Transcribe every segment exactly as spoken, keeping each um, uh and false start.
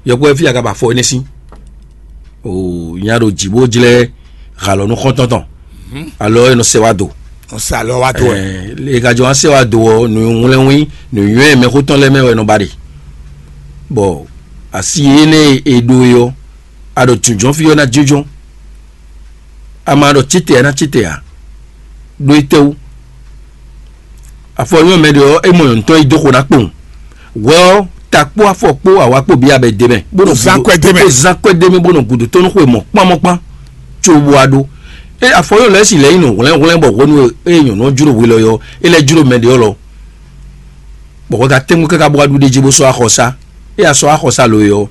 Yɔkpɔ́ fí a ka ba afɔ énɛ́ sín? O nya ɖo jǐ bó jlɛ́ halɔ nú xɔ́ntɔn tɔn, alɔ e nɔ sɛ wá do. Nɔ sɛ alɔ wá do wɛ. Ɛ, e ka jɔ wá sɛ wá do ɔ́, nǔ wlɛ́nwín nǔnywɛ́ mɛxó tɔn lɛ́ɛ mɛ wɛ nɔ ba ɖe. Bɔ asi énɛ́ e e ɖó é ɔ́, a ɖo jǐnjɔ́n fí ɔ́ ná jínjɔ́n. A ma ɖɔ cíte ǎ ná cíte ǎ. Ɖó étɛ́wú? Afɔ nyɔ́ mɛ ɖe ɔ́, é mɔ nyɔ̌nu tɔn yi dó xo ná kpowun. Hwɛ ɔ́, ta kpó afɔ kpó awa kpó bǐ abɛ d'é mɛ, bó nɔ Zán gúdo- kwɛ́ d'é mɛ. Bó zán kwɛ́ d'é mɛ, bó nɔ gúdo tɔn nú xwe mɔ̌kpán mɔ̌kpán, có bó wá ɖó. É afɔ nyɔ́ lɛ́ɛ si lɛ́ yi nɔ hwlɛ́nhwlɛ́n bɔ hwenu e nyɔ̌nu ɔ́ jló hwe lɔ é ɔ́, é lɛ́ jló mɛ ɖe ɔ́ lɔ, bɔ hwɛ ka tɛ́ngbɔ́n káká bó wá ɖu ɖ'é jí bó sɔ́ axɔsá. É ya sɔ́ axɔsá lo é ɔ́,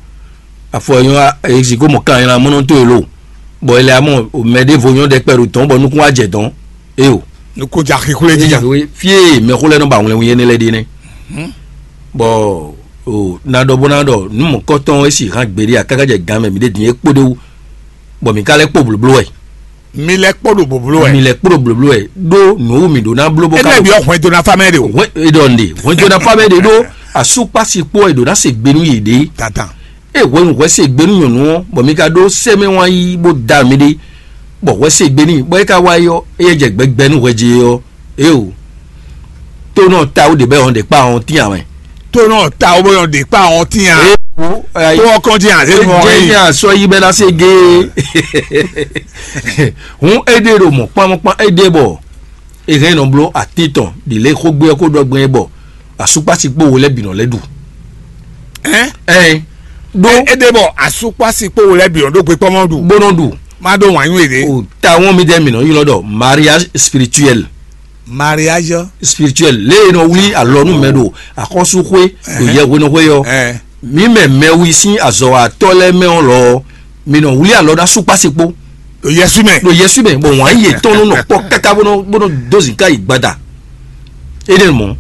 afɔ e nyɔ́ ezi ko mɔ kan nylá mɔnɔ tó e lo, bɔ è lɛ amɔ mɛ ɖěvo nyɔ́ ɖɛkpɛ ɖo dɔ̌n bɔ nukún wá jɛ dɔ̌n. Éyo. Nukún ja xixlé jí. Fie mɛxó lɛ́ɛ nɔ ba wlɛnwun yé nɛ́ lɛ́ɛ ɖe nɛ́. Bɔ o na ɖɔ bó ná ɖɔ nú mɔ̌kɔtɔn e si hán gbeɖé a káká jɛ gan mɛ mǐ ɖe din é kpó ɖé wú, bɔ mǐ ka lɛ́ kpó blǒbló wɛ. Mi lɛ kpó ɖo boblo wɛ. Mi lɛ kpó ɖo blǒbló wɛ ɖó nǔ wú mǐ ɖó ná bló bó ka Ene bi ɔxwɛn dó na fa mɛ ɖe o. Hwɛ e ɖɔ nɖe hwɛndo na fa mɛ ɖe ɖó asúkpasi kpó wɛ ɖó ná se gbe nú yě ɖe. Tata. E hwenu hwɛ se gbe nú nyɔ̌nu ɔ́, bɔ mi ka ɖó sɛmɛ wán yí bó da mi ɖe, bɔ hwɛ se gbe n'i bɔ é ka wá yi ɔ́, éyɛ́ jɛ gbɛgbɛ nú hwɛ jí ɔ́. Eo, tó nɔ ta wó ɖe bɛ ɔn ɖe kpa ɔn tín amɛ. Tó nɔ ta wó bɔ yɔn ɖe kpa ɔn tín a. Eo, tó ɔkɔn dín a. Ejé ní asɔ yí bɛ ná se gé. Hun éɖé ɖo mɔ kpánmɔkpán éɖé bɔ e hɛn nɔ bló atín tɔn ɖi lě xógbé ɔ́ kó ɖɔ gbɛn bɔ asúkpási kpó wo lɛ́ bǐ nɔ lɛ́ ɖu. Ɛn? Ɛn, ɖó E ɖe bɔ asukpasi kpó wo lɛ bi ɔn ɖó gbe kpɔmɔ ɖu. Bó nɔ ɖu. Má ɖó wǎn nywé ɖe. O ta wɔn mi dɛ mi nɔ ylɔ ɖɔ mariage spirituel. Mariage. Spirituel lé e nɔ wlí alɔ nú mɛ ɖo axɔ́súxwé ɖo yɛhwenɔxwé ɔ́. Ɛ. Mi mɛ mɛwi sín azɔ̌watɔ́ lɛ́ɛ mɛ ɔ́ lɔ ɔ́, mi nɔ wlí alɔ ná súkpási kpó. Ɖo Yɛsu mɛ. Ɖo Yɛsu mɛ, bɔ wǎn yětɔn nɔ nɔ kpɔ́ káká bó nɔ bó nɔ dó zǐnká yi gbada. Énɛ́ mɔ̌.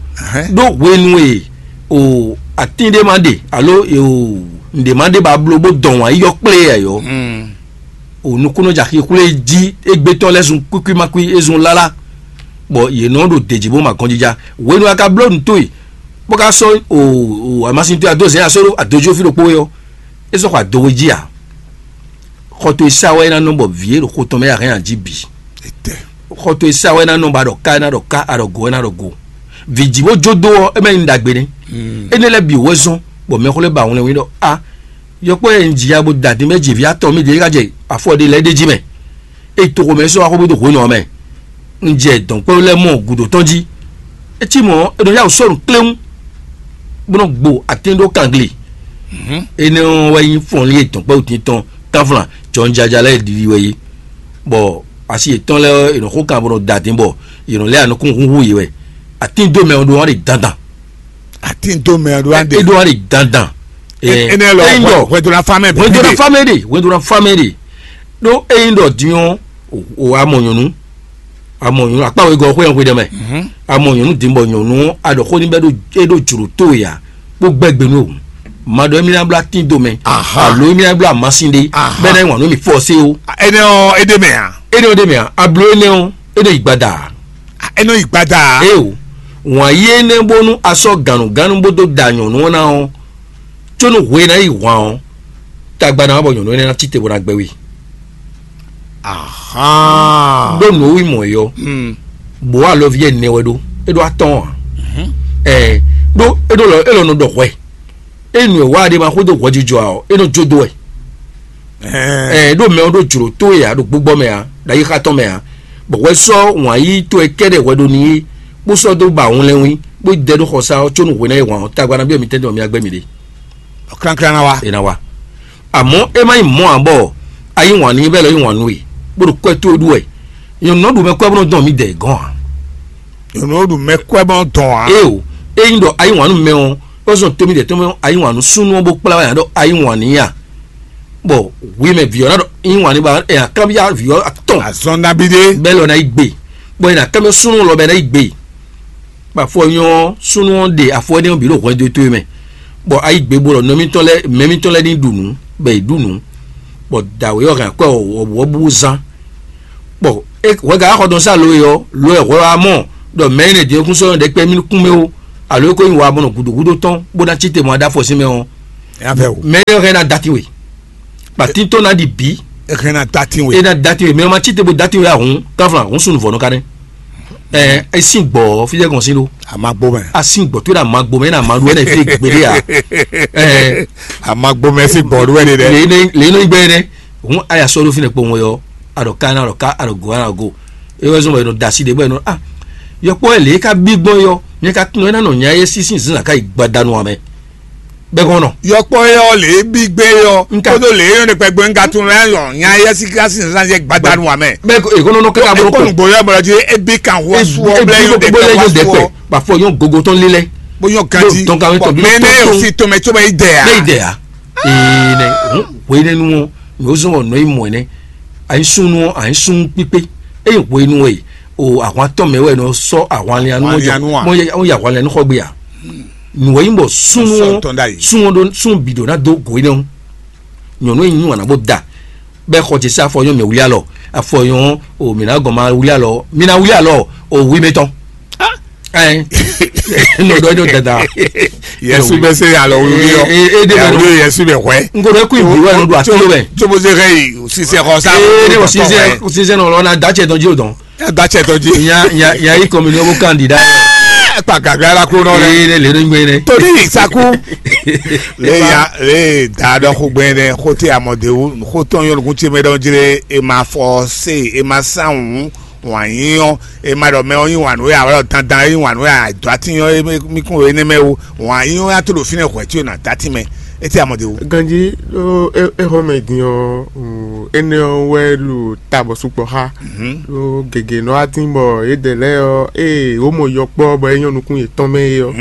Ɖó hwenu e o atín ɖé ma ɖe alo e o nǔɖé ma ɖe ba bló bó dɔn wǎn yi yɔ kplé ɛ yɔ. O nukúnnú jɛ axixwlé jí égbé tɔn lɛ́ zun kwíkwí ma kwí é zun lálá, bɔ yě nɔ ɖo dějí bó ma gɔnjija. Hwenu a ka bló nǔ towe bó ka sɔ́ o o amasin towe adó zɛ̌n asó ɖó adójú fí ɖokpó é ɔ́, é sɔ́ xɔ adowe jí ǎ. Xɔ towe sá wɛ é ná nɔ bɔ vǐ e ɖo xo tɔn mɛ a hɛn a jí bǐ. Xɔ towe sá wɛ é ná nɔ bɔ a ɖɔ ká é ná ɖɔ ká, a ɖɔ go é ná ɖɔ go. Vǐ jí bó jó dó ɔ́, é mɛ nyí ɖagbe nɛ́. Énɛ́ lɛ́ɛ bǐ wɛ zɔ́n bɔ mɛxó lɛ́ɛ ba wlɛnwí ɖɔ a yɔkpɔ́ e un ji ya bó da din bɔ é ji vǐ atɔn mì ɖě é ka jɛ afɔ ɖé lɛ́ɛ ɖ'é jí mɛ. É to xomɛ é sɔ́ wá xó bó dó hwenu ɔ́ mɛ. Un jɛ dɔ̌nkpɛ́ lɛ́ɛ mɔ gǔdo tɔn jí. É cí mɔ̌, é nɔ yá wǔ sɔ́ nǔ kléwún, bó nɔ́ gbo atín ɖó kangle. Énɛ́ ɔ́ wɛ nyí fɔnlín e dɔ̌nkpɛ́wútín tɔn kánflán jɔnjaja lɛ́ɛ ɖiɖi wɛ é, bɔ asi yětɔn lɛ́ɛ ɔ́, è nɔ xo kan bó nɔ da dín bɔ yě nɔ lɛ́ anukún húnhún yě wɛ. Atín dó mɛ ɔ́ ɖó wá ɖe dandan. Atín dó mɛ ɔ́ ɖó wá ɖe. É ɖó wá ɖe dandan. Énɛ́ lɔ hwɛdona fámɛ. Hwɛdona fámɛ ɖe, hwɛdona fámɛ ɖe. Ɖó ényí ɖɔ din ɔ́, o amɔ nyɔ̌nu, amɔ nyɔ̌nu akpá wegɔ́ xwé xwé ɖɛ mɛ. Amɔ nyɔ̌nu din bɔ nyɔ̌nu ɔ́, a ɖɔ xó ní bɛ́ ɖó é ɖó jlǒ tó ya bó gbɛ́ gbe nú o. Ma ɖɔ émí ná blá tín do mɛ. Alo émí ná blá amasin ɖé bɛ́ ná nyi wǎn nú mì fɔ́ sé o. Énɛ́ ɔ́ é ɖe mɛ a? Énɛ́ ɔ́ ɖe mɛ a? A bló énɛ́ ɔ́, é ɖo yi gbada a? É nɔ yi gbada a? Ée o, wǎn yí énɛ́ bónú a sɔ́ gǎnnugánnu bó dó da nyɔ̌nu ɔ́ ná ɔ́, có nú hwe ná yi hwan ɔ́, tagba ná wá bɔ nyɔ̌nu énɛ́ ná cí te bó ná gbɛ́ we. Ɖó nǔ e wú mɔ é ɔ́, bǒ alɔví ɛnɛ wɛ ɖó, é ɖó atɔ́ɔ́n ǎ. Ɛɛ, ɖó é ɖó lɔ é lɔ nɔ ɖɔ hwɛ. Ényí nǔ e wa ɖe ma xwedó hwɛjijɔ ǎ ɔ́, é nɔ jó dó wɛ. Ɛɛ, ɖó mɛ ɔ́ ɖó jlǒ tó e ǎ, ɖo gbígbɔ mɛ ǎ, ɖo ayixa tɔn mɛ ǎ, bɔ hwɛ sɔ́ wǎn yíyí towe kɛ́ɖɛ́ hwɛ ɖó n'i, bó sɔ́ dó ba wlɛnwín, bó dɛ ɖó xɔsá ɔ́, có nú hwe ná yi hwan ɔ́, tagba ná byɔ́ mi tɛ́ntin bɔ mi wá gbɛ́ mi ɖe. Klánklán ná wá. É ná wá. Àmọ́ é má nyí mɔ̌ ǎ bɔ a yí wǎn n'i bɔ é lɔ yí wǎn nú we, bó ɖo kwɛ́ towe ɖu wɛ. Nyɔ̌nu nɔ ɖu mɛ kwɛ́ bó nɔ dɔn mǐdɛɛ gɔ́n ǎ. Nyɔ̌nu nɔ ɖu mɛ kwɛ́ bó nɔ dɔn ǎ. Ée o, ényí ɖɔ a yí wǎn nú mɛ ɔ́, é zɔn tómídɛɛ tɔn mɛ a yí wǎn nú súnnu ɔ́ bó kplá wá nya ɖɔ a yí wǎn n'i a? Bɔ hwi mɛ vǐ ɔ́ ná ɖɔ yí wǎn n'i ba ɛ akábíyá vǐ ɔ́ atɔn. Azɔn nabí ɖé. Bɛ́ lɔ ná yi gbe, bɔ è nǎ kábíyá súnnu lɔ bɛ ná yi gbe. Bɔ afɔ nyɔ ɔ́, súnnu ɔ́ ɖe afɔ énɛ́ ɔ́ bǐ ɖo hwɛndo towe mɛ, bɔ a yi gbe bó ɖɔ nɔ mitɔn lɛ́ɛ mɛ mitɔn lɛ́ɛ ní ɖu nǔ, bɔ è ɖu nǔ, bɔ dǎwe ɔ́ hɛn akwɛ́ wɔ̌buwɔ́bú zán. Bɔ hwɛgǎ xɔ dɔn sá lo e ɔ́, lo wɛ hwɛ wá mɔ ɖɔ mɛ énɛ́ din ɔ́ kún sɔ́ nyɔ́ ɖɛkpɛ mì nukún mɛ ó, alo é ko nyí wa mɔnɔ gǔdo gúdo tɔn bó ná cí te mɔ aɖáfɔ sín mɛ ɔ́, Nya fɛ o. Mɛ yɔ hɛn na dati we. Ba tito na di bi. Hɛn na dati we. E na dati we. Mɛ ma tite bo dati we ahun. Kafla ahun sunu vɔ no kane. Ɛ, e sin gbɔ fi jɛ gɔn sin do. A ma gbɔ mɛ. A sin gbɔ to da ma gbɔ mɛ na ma do ɛnɛ fi gbede ya. Ɛ, a ma gbɔ mɛ si gbɔ do ɛnɛ dɛ. Le ne le ne gbɛ ne. Hun aya sɔ do fi ne kpo ŋɔ yɔ. A dɔ ka na dɔ ka a dɔ go a na go. E wɛ zɔn bɔ e nɔ da si de bɔ e nɔ a. Yɔkpɔ ɛ le ka bi gbɔn yɔ. Nyɛ ka tun ɛ na nɔ nya ye si sin zin ka yi gbadanu amɛ. Bɛ kɔnɔ. Yɔkpɔ yɔ lě bí gbé yɔ. Nka. Kódó lě yɔ ne kpɛgbɛ nka tún lɛ yɔ nya yɛ si ka si nzan yɛ gbadanu wa mɛ. Bɛ ko ekono nɔ kaka bolo ko. Ekɔnu gbɔ yɔ bɔlɔ dzi ebi kan wɔ suwɔ blɛ yɔ de kɛ wɔ suwɔ. Ba fɔ yɔn gogo tɔn lilɛ. Bó yɔ ganti. Tɔn ka wɛ tɔn bi. Mɛ ne yɔ si tɔmɛ tso bɛ yi dɛ ya. Ne yi dɛ ya. Ee nɛ hun wɛ ne nu wɔn mɛ o zɔn wɔ nɔ yi mɔ nɛ. Ayi sun nu ayi sun kpikpe. Eye wɛ nu wɛ o ahwan tɔn mɛ wɛ nɔ sɔ ahwan lianu. Ahwan lianu wa. Mɔ yɛ ahwan lianu xɔ gbe ya. Nǔ e nyí bɔ súnnu ɔ́, súnnu ɔ́ ɖó súnnu bǐ ɖó ná dó gǒ énɛ́ ɔ́. Nyɔ̌nu e nyí wǎn ná bó da, bɔ é xɔ ce sín afɔ nyɔ́ mɛ wlí alɔ, afɔ nyɔ́ o mǐ ná gɔn ma wlí alɔ, mǐ ná wlí alɔ o wi mɛ tɔn. Ɛn nɔ ɖɔ nyɔ́ dada. Yɛsu bɛ se alɔ wlí ɔ. Ee de bɛ Yɛsu bɛ hwɛ. N ko ɖɔ kú ìbí wɛ nɔ ɖo ato bɛ. Tsobo se hɛ yi sisɛ xɔ sa. Ee ne ko sisɛ sisɛ nɔ lɔ na da cɛ dɔn jí o dɔn. Ẹ gba cɛ tɔn jí. Nya nya nya yi kɔmi ní ɔbɔ kandida. Ẹ pa gàgà la kúrò náà Ee rẹ. Ne le ní gbé ne. Torí ìsakú. Le ya le da dɔ xo gbɛ ne xo te amɔdewu xo tɔn yɔ nukun ce mɛ dɔn jire e ma fɔ se e ma san wu wàn yín ɔ e ma dɔ mɛ ɔ yín wàn nú ya wɛ dandan yín wàn nú ya dɔ ati yɔ mi kún wɛ ne mɛ wo wàn yín ɔ ya to ɖo fínɛ hwɛ tí o na dati mɛ e te amɔdewu. Ganji ɖo exɔ mɛ din ɔ, énɛ́ ɔ́ wɛ ɖo ta bɔ sukpɔ́ xá. Ɖó gěgé nɔ wá tín bɔ yědɛɛ lɛ́ɛ ɔ́, ée wǒ mɔ yɔkpɔ́ bɔ é nyɔ́ nukún yětɔn mɛ é ɔ́,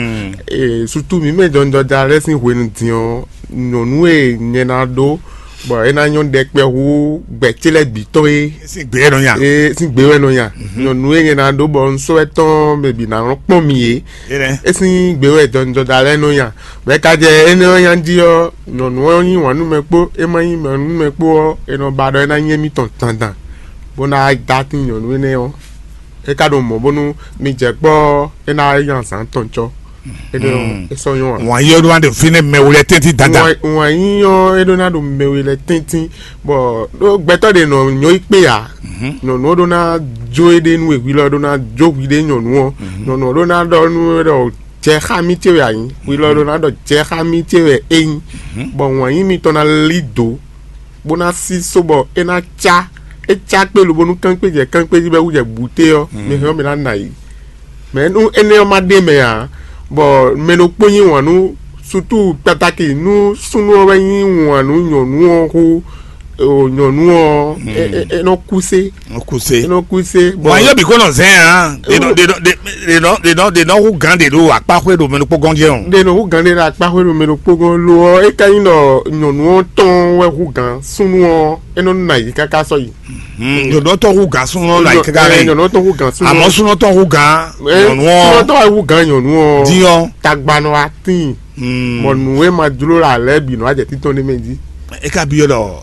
ee sutu mǐ mɛ jɔnjɔja lɛ́ɛ sín hwenu din ɔ́, nyɔ̌nu e nyɛ ná ɖó bɔ é ná nyɔ́ ɖɛkpɛ hú gbɛ̌ ce lɛ́ɛ bǐ tɔn é. Sín gbě wɛ nɔ nya. Ee sín gbě wɛ nɔ nya. Nyɔ̌nu e nyɛ ná ɖó bɔ un sɔ́ ɛ tɔn mɛ bǐ ná nɔ kpɔ́n mì é. É nɛ́. É sín gbě wɛ jɔnjɔja lɛ́ɛ nɔ nya. Bɔ é ka jɛ énɛ́ ɔ́ nya jí ɔ́, nyɔ̌nu ɔ́ yí wǎn nú mɛ kpó é ma yí wǎn nú mɛ kpó ɔ́, è nɔ ba ɖɔ é ná nyí émítɔn dandan, bó ná dó atín nyɔ̌nu énɛ́ ɔ́. É ka ɖo mɔ̌ bónú mi jɛ kpɔ́ ɔ́, é ná nya zǎn tɔn cɔ́. É ɖɔ é sɔ́ nyɔ́ ǎ. Wǎn yí ɔ́ ɖó ná ɖe fínɛ́ mɛ wlɛ́ tɛ́ntin dandan. Wǎn yí ɔ́ é ɖó ná ɖo mɛ we lɛ́ɛ tɛ́ntin, bɔ ɖó gbɛtɔ́ ɖě nɔ nyɔ́ yi kpé ǎ. Nyɔ̌nu ɔ́ ɖó ná jó éɖée nú we, hwi lɔ ɖó ná jó hwiɖée nyɔ̌nu ɔ́. Nyɔ̌nu ɔ́ ɖó ná ɖɔ nú we ɖɔ jɛ xá mì ce wɛ a nyǐ, hwi lɔ ɖó ná ɖɔ jɛ xá mì ce wɛ é nyí, bɔ wǎn yí mitɔn ná lí dǒ, bó ná sí só bɔ é ná cá, é cá kpé lobo nú kángbé jɛ kángbé jí bɔ é wú jɛ bǔté ɔ́, mi hɛn ɔ́ mi ná nɔ ayǐ. Mɛ nú énɛ́ ɔ́ ma ɖe mɛ ǎ, bɔ mɛ ɖokpó yí wǎn nú sutu kpatáki nú súnnu ɔ́ wɛ yí wǎn nú nyɔ̌nu ɔ́ xú, o nyɔ̌nu ɔ́, é- é- é nɔ kúsé. Kuse. É nɔ kúsé. Bon, ayé bi kɔnɔ zɛn hàn. Ɖe nɔ ɖe nɔ ɖe nɔ ɖe nɔ ɖe nɔ hu gan ɖe ɖo akpaxwe ɖo mɛnukpɔgɔn jɛ o. Ɖe nɔ hu gan ɖe ɖo akpaxwe ɖo mɛnukpɔgɔn lo ɔ́, é ka nyí ɖɔ nyɔ̌nu ɔ́ tɔn wɛ hu gan súnnu ɔ́, é nɔ nɔ ayǐ káká sɔ́ yi. Nyɔ̌nu tɔn hu gan súnnu ɔ́ nɔ ayǐ káká rɛ. Nyɔ̌nu tɔn hu gan súnnu ɔ́. Àmọ́ súnnu tɔn hu gan nyɔ̌nu ɔ́. Súnnu tɔn wɛ hu gan nyɔ̌nu ɔ́. Dín ɔ́. Tagba nɔ wá tíin. Bɔ nǔ e ma jló ɖo alɛ bǐ nɔ wá jɛ títɔn ɖé mɛ jí. É ka byɔ́ ɖɔ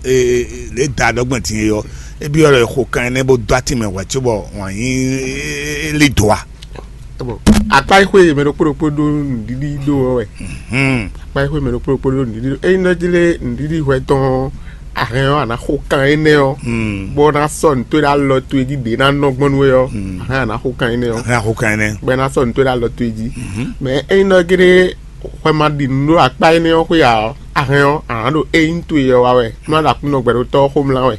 lě da ɖɔgbɛn din e ɔ́, é byɔ́ ɖɔ è xo kan énɛ́ bó dó atin mɛ hwɛ̌ cóbɔ wǎn yí lí dǒ a? Akpá e xwé mɛ ɖokpó ɖokpó ɖó nǔɖiɖi ɖó ɔ́ wɛ. Akpá e xwé mɛ ɖokpó ɖokpó ɖó nǔɖiɖi ɖó. Ényí nɔ jlé nǔɖiɖi hwɛ tɔn ɔ́, a hɛn ɔ́, a nǎ xo kan énɛ́ ɔ́, bó ná sɔ́ nǔ towe ɖó alɔ towe jí ɖě ná nɔ gbɔn nú we ɔ́, a hɛn a nǎ xo kan énɛ́ ɔ́. Hɛn a xo kan énɛ́. Bɔ é ná sɔ́ nǔ towe ɖó alɔ towe jí. Mɛ ényí nɔ jlé hwɛ ma ɖi nǔ ɖó akpá énɛ́ ɔ́ xwé ǎ ɔ́, a hɛn ɔ́, a nǎ ɖo ényí towe ɔ́ wa wɛ, bó ná ɖo Aklúnɔ gbɛɖótɔ́ ɔ́ xomlá wɛ.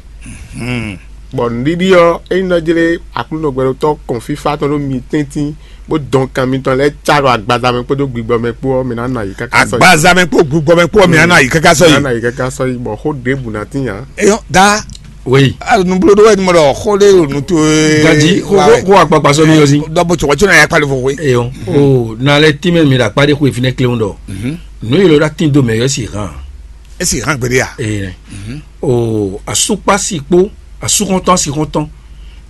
Bɔ nǔɖiɖi ɔ́, ényí nɔ jlé Aklúnɔ gbɛɖótɔ́ kɔn fífá tɔn ɖó mi tɛ́ntin, bó dɔn kan mitɔn lɛ́ɛ cá ɖo agbaza mɛ kpódó gbigbɔ mɛ kpó ɔ́, mi ná nɔ ayǐ káká sɔ́ yi. Agbaza mɛ kpó gbigbɔ mɛ kpó ɔ́, mi ná nɔ ayǐ káká sɔ́ yi. Mi ná nɔ ayǐ káká sɔ́ yi, bɔ xó ɖěbǔ ná tín ǎ. Eyɔn da. Oui. Nublóɖó wɛ mɔ ɖɔ xó ɖé ɖo nu towe. Gadi xó xó akpakpa sɔ́ mi yɔ sí. Dɔ bo tsɔgɔ tsɔna ya kpali fofo. Eyɔn o na lɛ tínmɛ mi ɖo akpá ɖé xó efinɛ kléwún ɖɔ. Nǔ yi lɔ ɖo atín do mɛ yɔ si hàn. Esi hàn gbeɖe a? Ee. O asukpasi kpó asúxɔntɔn asixɔntɔn,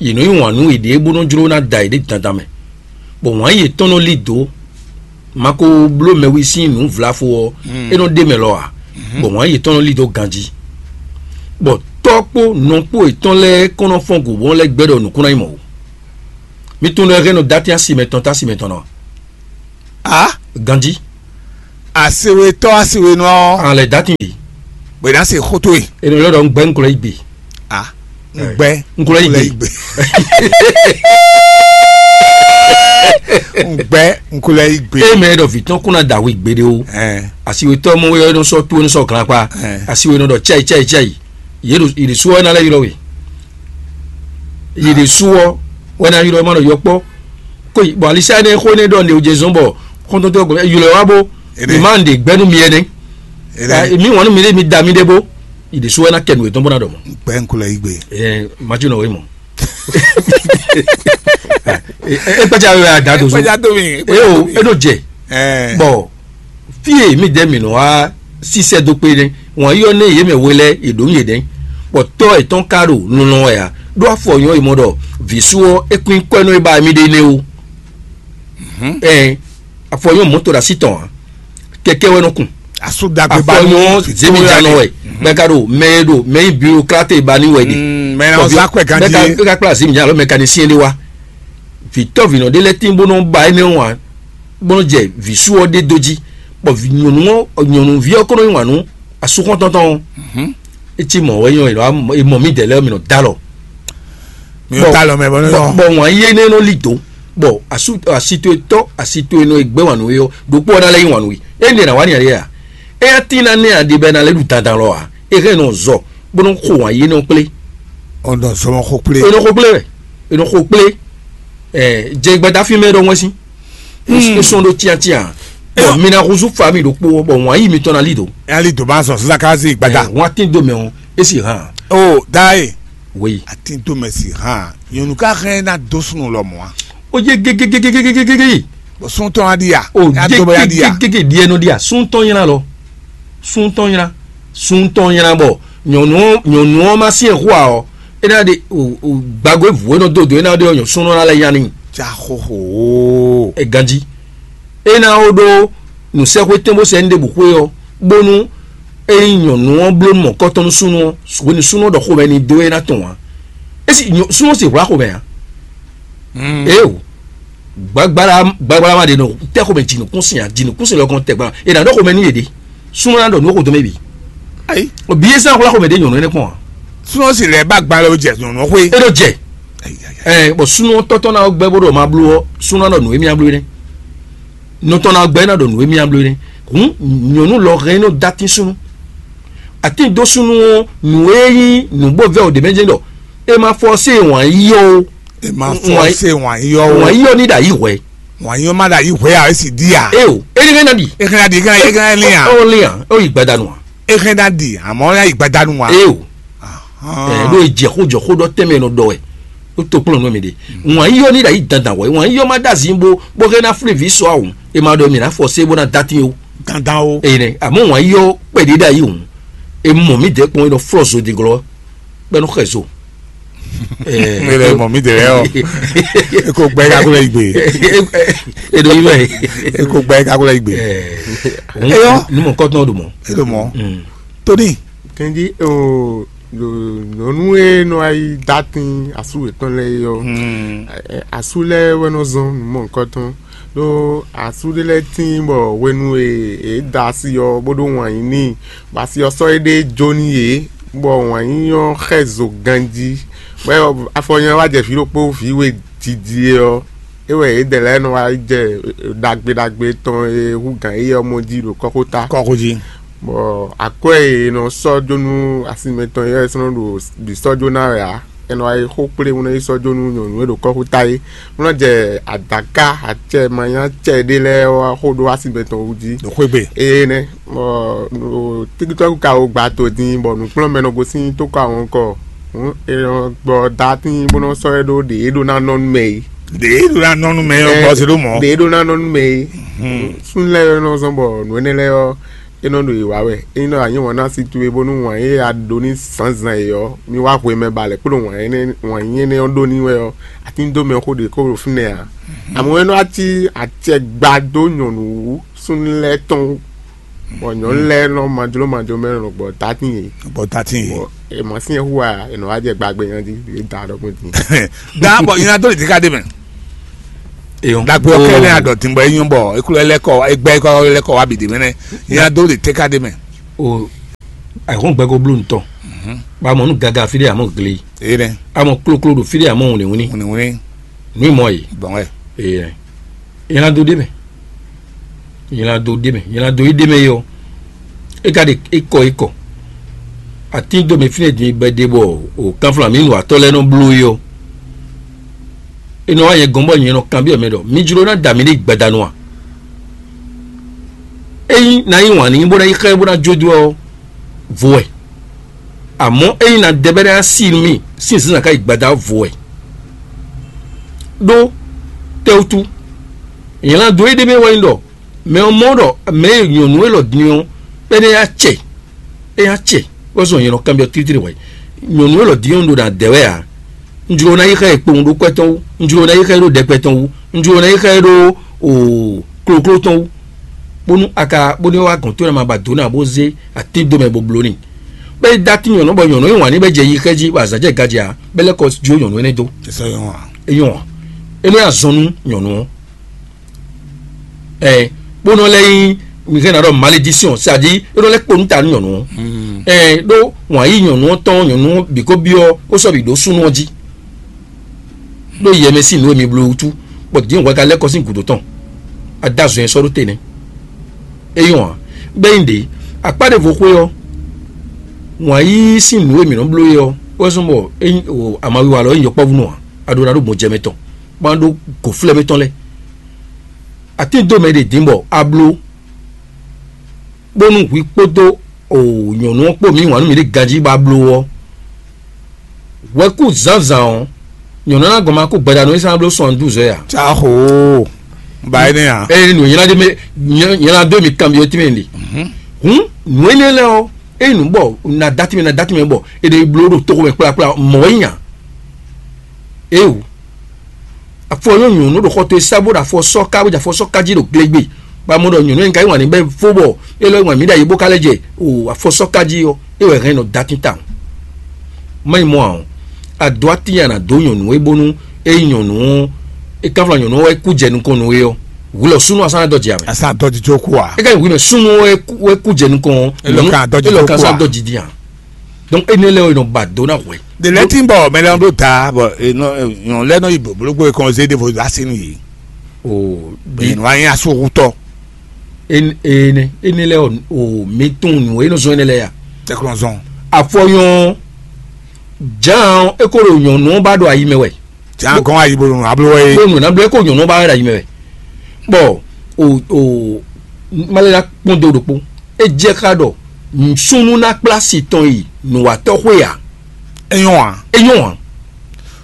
yě nɔ yí wǎn nú yěɖée bó nɔ́ jló ná da yěɖée dandan mɛ, bɔ wǎn yětɔn nɔ lí dǒ. Ma ko bló mɛwi sín nǔ vlafo ɔ́, é nɔ ɖ'é mɛ lɔ ǎ, bɔ wǎn yětɔn nɔ lí dó ganjí, bɔ tɔ́ kpó nɔ kpó yětɔn lɛ́ɛ kɔn nɔ fɔ́n gǔ bó nɔ́ lɛ́ gbɛ́ ɖɔ nǔkún ná nyí mɔ̌ ó. Mi tunwun ɖɔ é hɛn nɔ dó atín asi mɛtɔn tó asi mɛtɔn ná a? Ganjí. Asiwetɔ asiwenɔ ɔ́, an lɛ dati bi. Bwe na se xoto e. Enu yɔrɔ dɔ ŋgbɛ ŋkulɛ yi gbe. Ah, ŋgbɛ. Ŋkulɛ yi gbe. Ŋgbɛ ŋkulɛ yi gbe. E mɛ dɔ vitɔn kuna dawi gbeɖe o. Asiwetɔ mɔ yɔ nɔ sɔ tu nɔ sɔ glan kpa. Asiwe nɔ dɔ cɛyi cɛyi cɛyi. Yeɖo iɖisu wɛ na lɛ ylɔ we. Iɖisu wɛ na ylɔ ma nɔ yɔ kpɔ. Ko bɔ alisa ne xo ne dɔ ne o jɛ zɔn bɔ kɔntɔntɔ ylɔ wa bo. Mi ma ɖe gbɛnu mi ɛnɛ. Mi wɔn mi ɖe mi da mi ɖe bo. Iɖisu wɛ na kɛ nu etɔn bɔ na dɔ mɔ. Gbɛ ŋkulɛ yi gbe. Ɛɛ mati nɔ we mɔ. E kpɛtsa wɛ a da do so. Kpɛtsa do mi. E o e do jɛ. Bɔ fie mi dɛ mi nɔ wa sisɛ do kpe ne. Wɔn yɔ ne ye mɛ we lɛ e do mi ye dɛ. Bɔ tɔ etɔn ka ɖo nunɔ wɛ a. Ɖo afɔ nyɔ yi mɔ ɖɔ visu ɔ e kun kwɛ nɔ e ba mi ɖe ne o. Ɛɛ afɔ nyɔ mɔto ɖe asi tɔn a. Kɛkɛ wɛ nɔ kun. Asu dagbe ba afɔ nyɔ zemi janɔ wɛ. Mɛ ka ɖo mɛ e ɖo mɛ yi bureaucrate ba ni wɛ de. Mɛ na ɔza kwɛ ganji. Mɛ ka kpla zemi janɔ mɛ ka ni siɛn de wa. Vitɔ vinɔ ɖe lɛ tin bó nɔ ba énɛ́ wa bó nɔ jɛ visu ɔ ɖe dó jí. Bɔ nyɔnu ɔ nyɔnuvi ɔ kó nɔ nyi wǎn nú asukɔntɔntɔn ɔ́. Etí mɔ wɛ nyɔ e mɔ mi dɛ lɛ mi nɔ dalɔ. Mi nɔ dalɔ mɛ bɔ ne bɔ wɔn yé ne nɔ li do bɔ asu asi to etɔ asi to enɔ egbe wanu yɔ ɖokpɔ ɔna lɛ yi wanu yi e ne na wa ni ale ya. Eya tin na ne adi bɛ na lɛ ɖu dandan lɔ a e hɛn nɔ zɔ bó nɔ xo wɔn yé nɔ kplé. Ɔnɔ zɔmɔ xo kplé. Enɔ xo kplé wɛ enɔ xo kplé. Ɛ jɛ gbɛta fi mɛ ɖɔ ŋwɛsi. E sɔn ɖo tiatia. Bɔn mi na huzu fa mi ɖokpo bɔ wɔn yi mitɔn na li do. Ɛli doma sɔ sisan ka si gbada. Wɔn atin do mɛ o e si hàn. O da ye. Wei. Atin do mɛ si hàn. Nyɔnu ka hɛn na do sunu lɔ mɔ a. O ye gegegegegegege. Bɔn sun tɔn adi ya. O ye gegegege diɛ nɔ di a sun tɔn yina lɔ. Sun tɔn yina. Sun tɔn yina bɔ nyɔnu nyɔnu ɔ ma si ɛ hu a ɔ. E na de gbàgbé vǔ e nɔ dó dǒ e na ɖe ɔ́ nyɔ súnnu ná lɛ́ nya n'i. Ca xóxó. E ganjí. E na ó ɖó nǔsɛ́xwé tɛ́nbó sɛ ní ɖěbǔ xwé ɔ́, bónú é nyí nyɔ̌nu ɔ́ bló mɔ̌kɔtɔn nú súnnu ɔ́, hwenu súnnu ɔ́ ɖɔ xomɛ ní dó é ná tɔn ǎ. É sì súnnu ɔ́ sì hwlá xomɛ ǎ. Éeǒ, gbagbala gbagbala ma ɖe nɔ tɛ́ xomɛ jǐnukúnsin ǎ, jǐnukúnsin lɔ gɔn tɛ gbala è nǎ ɖɔ xomɛ nú yě ɖe. Súnnu ná ɖɔ nǔ xo dɔmɛ bǐ. Ayi. Bǐ é sɛ́n xwlá xomɛ ɖé nyɔ̌nu énɛ́ kpɔ́n ǎ. Súnnu sì lɛ́ ba gbalɛ ó jɛ nyɔ̌nu xwé. É ɖó jɛ. Ɛ bɔ súnnu tɔ́tɔ́ ná gbɛ́ bó ɖɔ ma bló ɔ́, súnnu ná ɖɔ nǔ émí ná bló énɛ́. Nɔ tɔn ná gbɛ́ ná ɖɔ nǔ émí ná bló énɛ́. Hǔn nyɔ̌nu lɔ hɛn é nɔ dó atín súnnu. Atín dó súnnu ɔ́, nǔ e nyí nǔ bó vɛ́ ɔ́ ɖě mɛ jɛ́n ɖɔ é ma fɔ́sé wǎn yíyɔ ó. È ma fɔ Wǎn- ṣe wǎn yíyɔ o. Wǎn yíyɔ ní ɖo ayǐ hwɛ. Wǎn yíyɔ má ɖo ayǐ hwɛ a, é sì dí a. É o, é ní hɛn ná ɖi. É hɛn ná ɖi, é hɛn ná lín a. Ó lín a, ó yi gbadanu a. É hɛn ná ɖi, àmọ́ ó yá yi gbadanu a. É o, ɛ ɖó jɛ xó jɔ xó ɖɔ tɛnmɛ nɔ ɖɔ wɛ. Ó to kplɔ́n nú mi ɖe. Wǎn yíyɔ ní ɖo ayǐ dandan wɛ. Wǎn yíyɔ má ɖo azǐn bó bó hɛn ná flé vǐ sɔ awun. É ma ɖɔ mi ná fɔ sé bó ná dó atín o. Dandan o. Eye nɛ, àmọ́ wǎn yíyɔ kpɛɖé ɖo ayǐ hǔn. É mɔ mǐ dɛ́ kpɔ́n é nɔ flɔ́ zo din glɔ́. Bɛ́ nɔ xɛ zo. Mele mɔ mi de lɛ ɔ. Eko gbɛ kakó lɛ igbe. Eɖo yi mɛ. Eko gbɛ kakó lɛ igbe. Eyɔ. Numɔ kɔtɔn ɖo mɔ. Eɖo mɔ. Tóní. Kɛnji o nyɔnu e nɔ ayi datin asu etɔn lɛ yɔ. Asu lɛ wɛ nɔ zɔn numɔ kɔtɔn. Ɖó asú ɖé lɛ́ɛ tíin bɔ hwenu e yě da asi ɔ́ bó ɖó wǎn yí n'i, bɔ asi ɔ́ sɔ́ éɖée jó nú yě, bɔ wǎn yí ɔ́ xɛ zo ganjí, bɔ afɔ nyanya wá jɛ vǐ ɖokpó vǐ we jiji ɔ́, é wɛ yědɛɛ lɛ́ɛ nɔ wá jɛ ɖagbe ɖagbe tɔn e hú gǎn yí ɔ́ mɔ jí ɖo kɔ́xota. Kɔ́xo jí. Bɔ akwɛ́ e è nɔ sɔ́ jó nú asinmɛ tɔn é wɛ é sɔ́ nɔ ɖo bǐ sɔ́ jó ná wɛ ǎ. È nɔ wá yi xó kplé bó nɔ yi sɔ́ jó nú nyɔ̌nu e ɖo kɔ́xota é, bó nɔ jɛ adǎká acɛ manyá acɛ ɖé lɛ́ɛ wá xó ɖó asinmɛ tɔn wú jí. Ɖo xwé gbe. Ee nɛ́, bɔ ɖo tíkítɔ́ ka wo gba to din, bɔ nǔkplɔ́nmɛ nɔ gosín tókɔ àwọn kɔ. Hǔn è nɔ gbɔ datín bó nɔ sɔ́ ɛ ɖó ɖě é ɖó ná nɔ nú mɛ é. Ɖě é ɖó ná nɔ nú mɛ é, gbɔ se ɖó mɔ̌. Ɖě é ɖó ná nɔ nú mɛ é. Súnnu lɛ́ɛ nɔ zɔn bɔ nǔ énɛ́ lɛ́ɛ ɔ́, é nɔ ɖo yě wa wɛ. Ényí nɔ a nyí wǎn nú asi towe bónú wǎn e a ɖó n'i zǎnzǎn é ɔ́, mi wá hwemɛ ba lɛ̌ kplɔ́n wǎn énɛ́ wǎn nyí énɛ́ ɔ́ ɖó n'i wɛ ɔ́, a tín dó mɛ xó ɖě kó ɖo fínɛ́ ǎ. Àmọ́ é nɔ wá cí acɛ gba dó nyɔ̌nu wú súnnu lɛ́ɛ tɔn wú, bɔ nyɔ̌nu lɛ́ɛ nɔ majló majló mɛ nɔ gbɔ tatín yě. Gbɔ tatín yě. Bɔ è mɔ sín hu a è nɔ wá jɛ gbagbe nya jí, è da ɖɔkun dín. Da bɔ nyina dó lě dé ká ɖé mɛ. Eyɔn. Dagbe ɔkɛ ne adɔ tinbɔ enyɔ bɔ eklo lɛkɔ egbɛ ekɔ lɛkɔ wa bi de mɛ nɛ. Ya do de teka de mɛ. O, àìkún gbɛkó bló ntɔ. Ba mɔ nú gaga fí ɖé amɔ gle. Eye nɛ. Amɔ kloklo ɖo fí ɖé amɔ wunlewunli. Wunlewunli. Nú mɔ yi. Gbɔn wɛ. Eye. Yɛn do ɖe mɛ. Yɛn do ɖe mɛ. Yɛn do yi ɖe mɛ yɔ. E ka ɖe ekɔ ekɔ. Atín dó mɛ fínɛ́ din bɛ ɖe bɔ o kanfla mi nu atɔ lɛ́ɛ nɔ bló yi ɔ. E nɔ wá nyɛ gɔn bɔ nyɛ nɔ kanbyɔ́ mɛ ɖɔ mi jló ná da mi ɖe gbadanu a? Ényí ná yí wǎn n'i bó ná yi xá ɛ bó ná jó dó ɔ́, vo wɛ. Amɔ̌ ényí ná dɛ bɛ́ ná sí mì sín zǐnzǎn ká yi gbada ɔ́, vo wɛ. Ɖó tɛ́wútu, nyɛ ná dó éɖée mɛ wɛ nyí ɖɔ mɛ ɔ́ mɔ ɖɔ mɛ e nyɔ̌nu élɔ́ din ɔ́, é nɛ́ yá cɛ, é yá cɛ, wɛ zɔn nyɛ nɔ kanbyɔ́ tlítlí hwɛ̌. Nyɔ̌nu élɔ́ din ɔ́ un ɖo ná dɛ wɛ ǎ. Un jló ná yi xá ɛ kpowun ɖó kwɛ́ tɔn wú, un jló ná yi xá ɛ ɖó ɖɛkpɛ tɔn wú, un jló ná yi xá ɛ ɖó o kloklo tɔn wú, bónú a ka bónú é wá gɔn tó ná ma ba dǒ ná bó zé atín dó mɛ bó bló n'i. Bɛ́ é dó atín nyɔ̌nu bɔ nyɔ̌nu yí wǎn ní bɛ́ jɛ yi xɛ́ jí bɔ azǎn jɛ gaji ǎ, bɛ́ lɛ́ kɔ jó nyɔ̌nu énɛ́ dó. É nyɔ́ ǎ. É nɔ́ nyi azɔn nú nyɔ̌nu ɔ́. Ɛ bó nɔ lɛ́ nyí mi hɛn na ɖɔ malédiction, c'est-à-dire é nɔ lɛ́ kpo nú ta nú nyɔ̌nu ɔ́. Ɛ ɖó wǎn yí nyɔ̌nu ɔ́ tɔn nyɔ̌nu ɔ́ bǐ ko byɔ́ ó sɔ́ bǐ ɖó súnnu ɔ́ jí. Ɖó yɛmɛ sín nǔ e mi bló wútu, bɔ dín hwɛ ka lɛ́ kɔ sín gǔdo tɔn. A dó azɔn e sɔ́ ɖó te nɛ́. É nyɔ́ ǎ. Gbɛ́ nyi ɖě, akpá ɖěvo xwé ɔ́, wǎn yíyí sín nǔ e mǐ nɔ bló é ɔ́, wɛ zɔ́n bɔ amawiwa lɔ é nyí yɔkpɔ́vú nɔ ǎ. A ɖó ná ɖó gbɔn jɛ mɛ tɔn, bó ná ɖó gǒflɛ́ mɛ tɔn lɛ́ɛ. Atín dó mɛ ɖě dín bɔ a bló, bónú hwi kpódó nyɔ̌nu ɔ́ kpó mǐ wǎn nú mǐ ɖe ganjí bó a bló ɔ́, hwɛkú zǎnzǎn ɔ́, nyɔ̌nu ɔ́ ná gɔn ma kú gbadanu e sán bló sɔn dúzɔ́ ɛ ǎ. Tsa xo ba énɛ́ ǎ. Eye nǔ nylá dó mɛ nylá dó mi kanbyɔ́ tínmɛ ɖe. Hǔn nǔ énɛ́ lɛ́ɛ ɔ́, eye nǔ bɔ na dá tínmɛ na dá tínmɛ bɔ è ɖe bló ɖo toxo mɛ kplakpla mɔ̌ é nya. Éewu. Afɔ nyɔ́ nyɔ̌nu ɖo xɔ towe sá bó ɖo afɔ sɔ́ ká bó jɛ afɔ sɔ́ ká jí ɖo glegbe. Ba mɔ ɖɔ nyɔ̌nu e un ka yí wǎn n'i bɔ é fó bɔ é lɔ́ yí wǎn mǐ ɖo ayǐ bó ka lɛ́ jɛ o afɔ sɔ́ ká jí ɔ́, é wɛ hɛn nɔ dó atín tawun. Má nyí mɔ̌ ǎ ɔ́, a dó atín a nǎ dó nyɔ̌nu é bónú é nyí nyɔ̌nu ɔ́, é kánflá nyɔ̌nu ɔ́ wɛ kú jɛ nukɔn nú é ɔ́, hwi lɔ súnnu asán dɔ́ jɛ ǎ mɛ. Asán dɔ́ jijó kú ǎ. É ka nyí hwi mɛ súnnu ɔ́ wɛ kú jɛ nukɔn ɔ́, Élɔ́ ka dɔ́ jijó kú ǎ. Élɔ́ ka sán dɔ́ jijó ǎ. Donc énɛ́ lɛ́ɛ ɔ́ è nɔ ba dǒ ná hwɛ. Ɖe lɛ́ɛ tín bɔ mɛ lɛ́ɛ nɔ ɖó da bɔ nyɔ̌nu lɛ́ɛ nɔ yi blǒblógbó e kɔn zé ɖěvo dó así nú yě. O Bɛ̌ nɔ wá nyí asúhútɔ́. Énɛ́ énɛ́ lɛ́ɛ ɔ́, o mi tunwun nǔ e nɔ zɔ́n énɛ́ lɛ́ɛ a? Tɛkplɔnzɔn. Afɔnyɔn Jǎan ɔ́, é ko ɖo nyɔ̌nu ɔ́ ba ɖo ayi mɛ wɛ. Jǎan gɔ́n ayi bó nɔ abló wɛ é. Bó nɔ ná bló é ko nyɔ̌nu ɔ́ ba wɛ ɖo ayi mɛ wɛ. Bɔ o o má lɛ́ ná kpɔ́n dó ɖokpó. É jɛ xá ɖɔ súnnu ná kplá si tɔn yi nǔwatɔ́ xwé ǎ. É nyɔ́ ǎ. É nyɔ́ ǎ.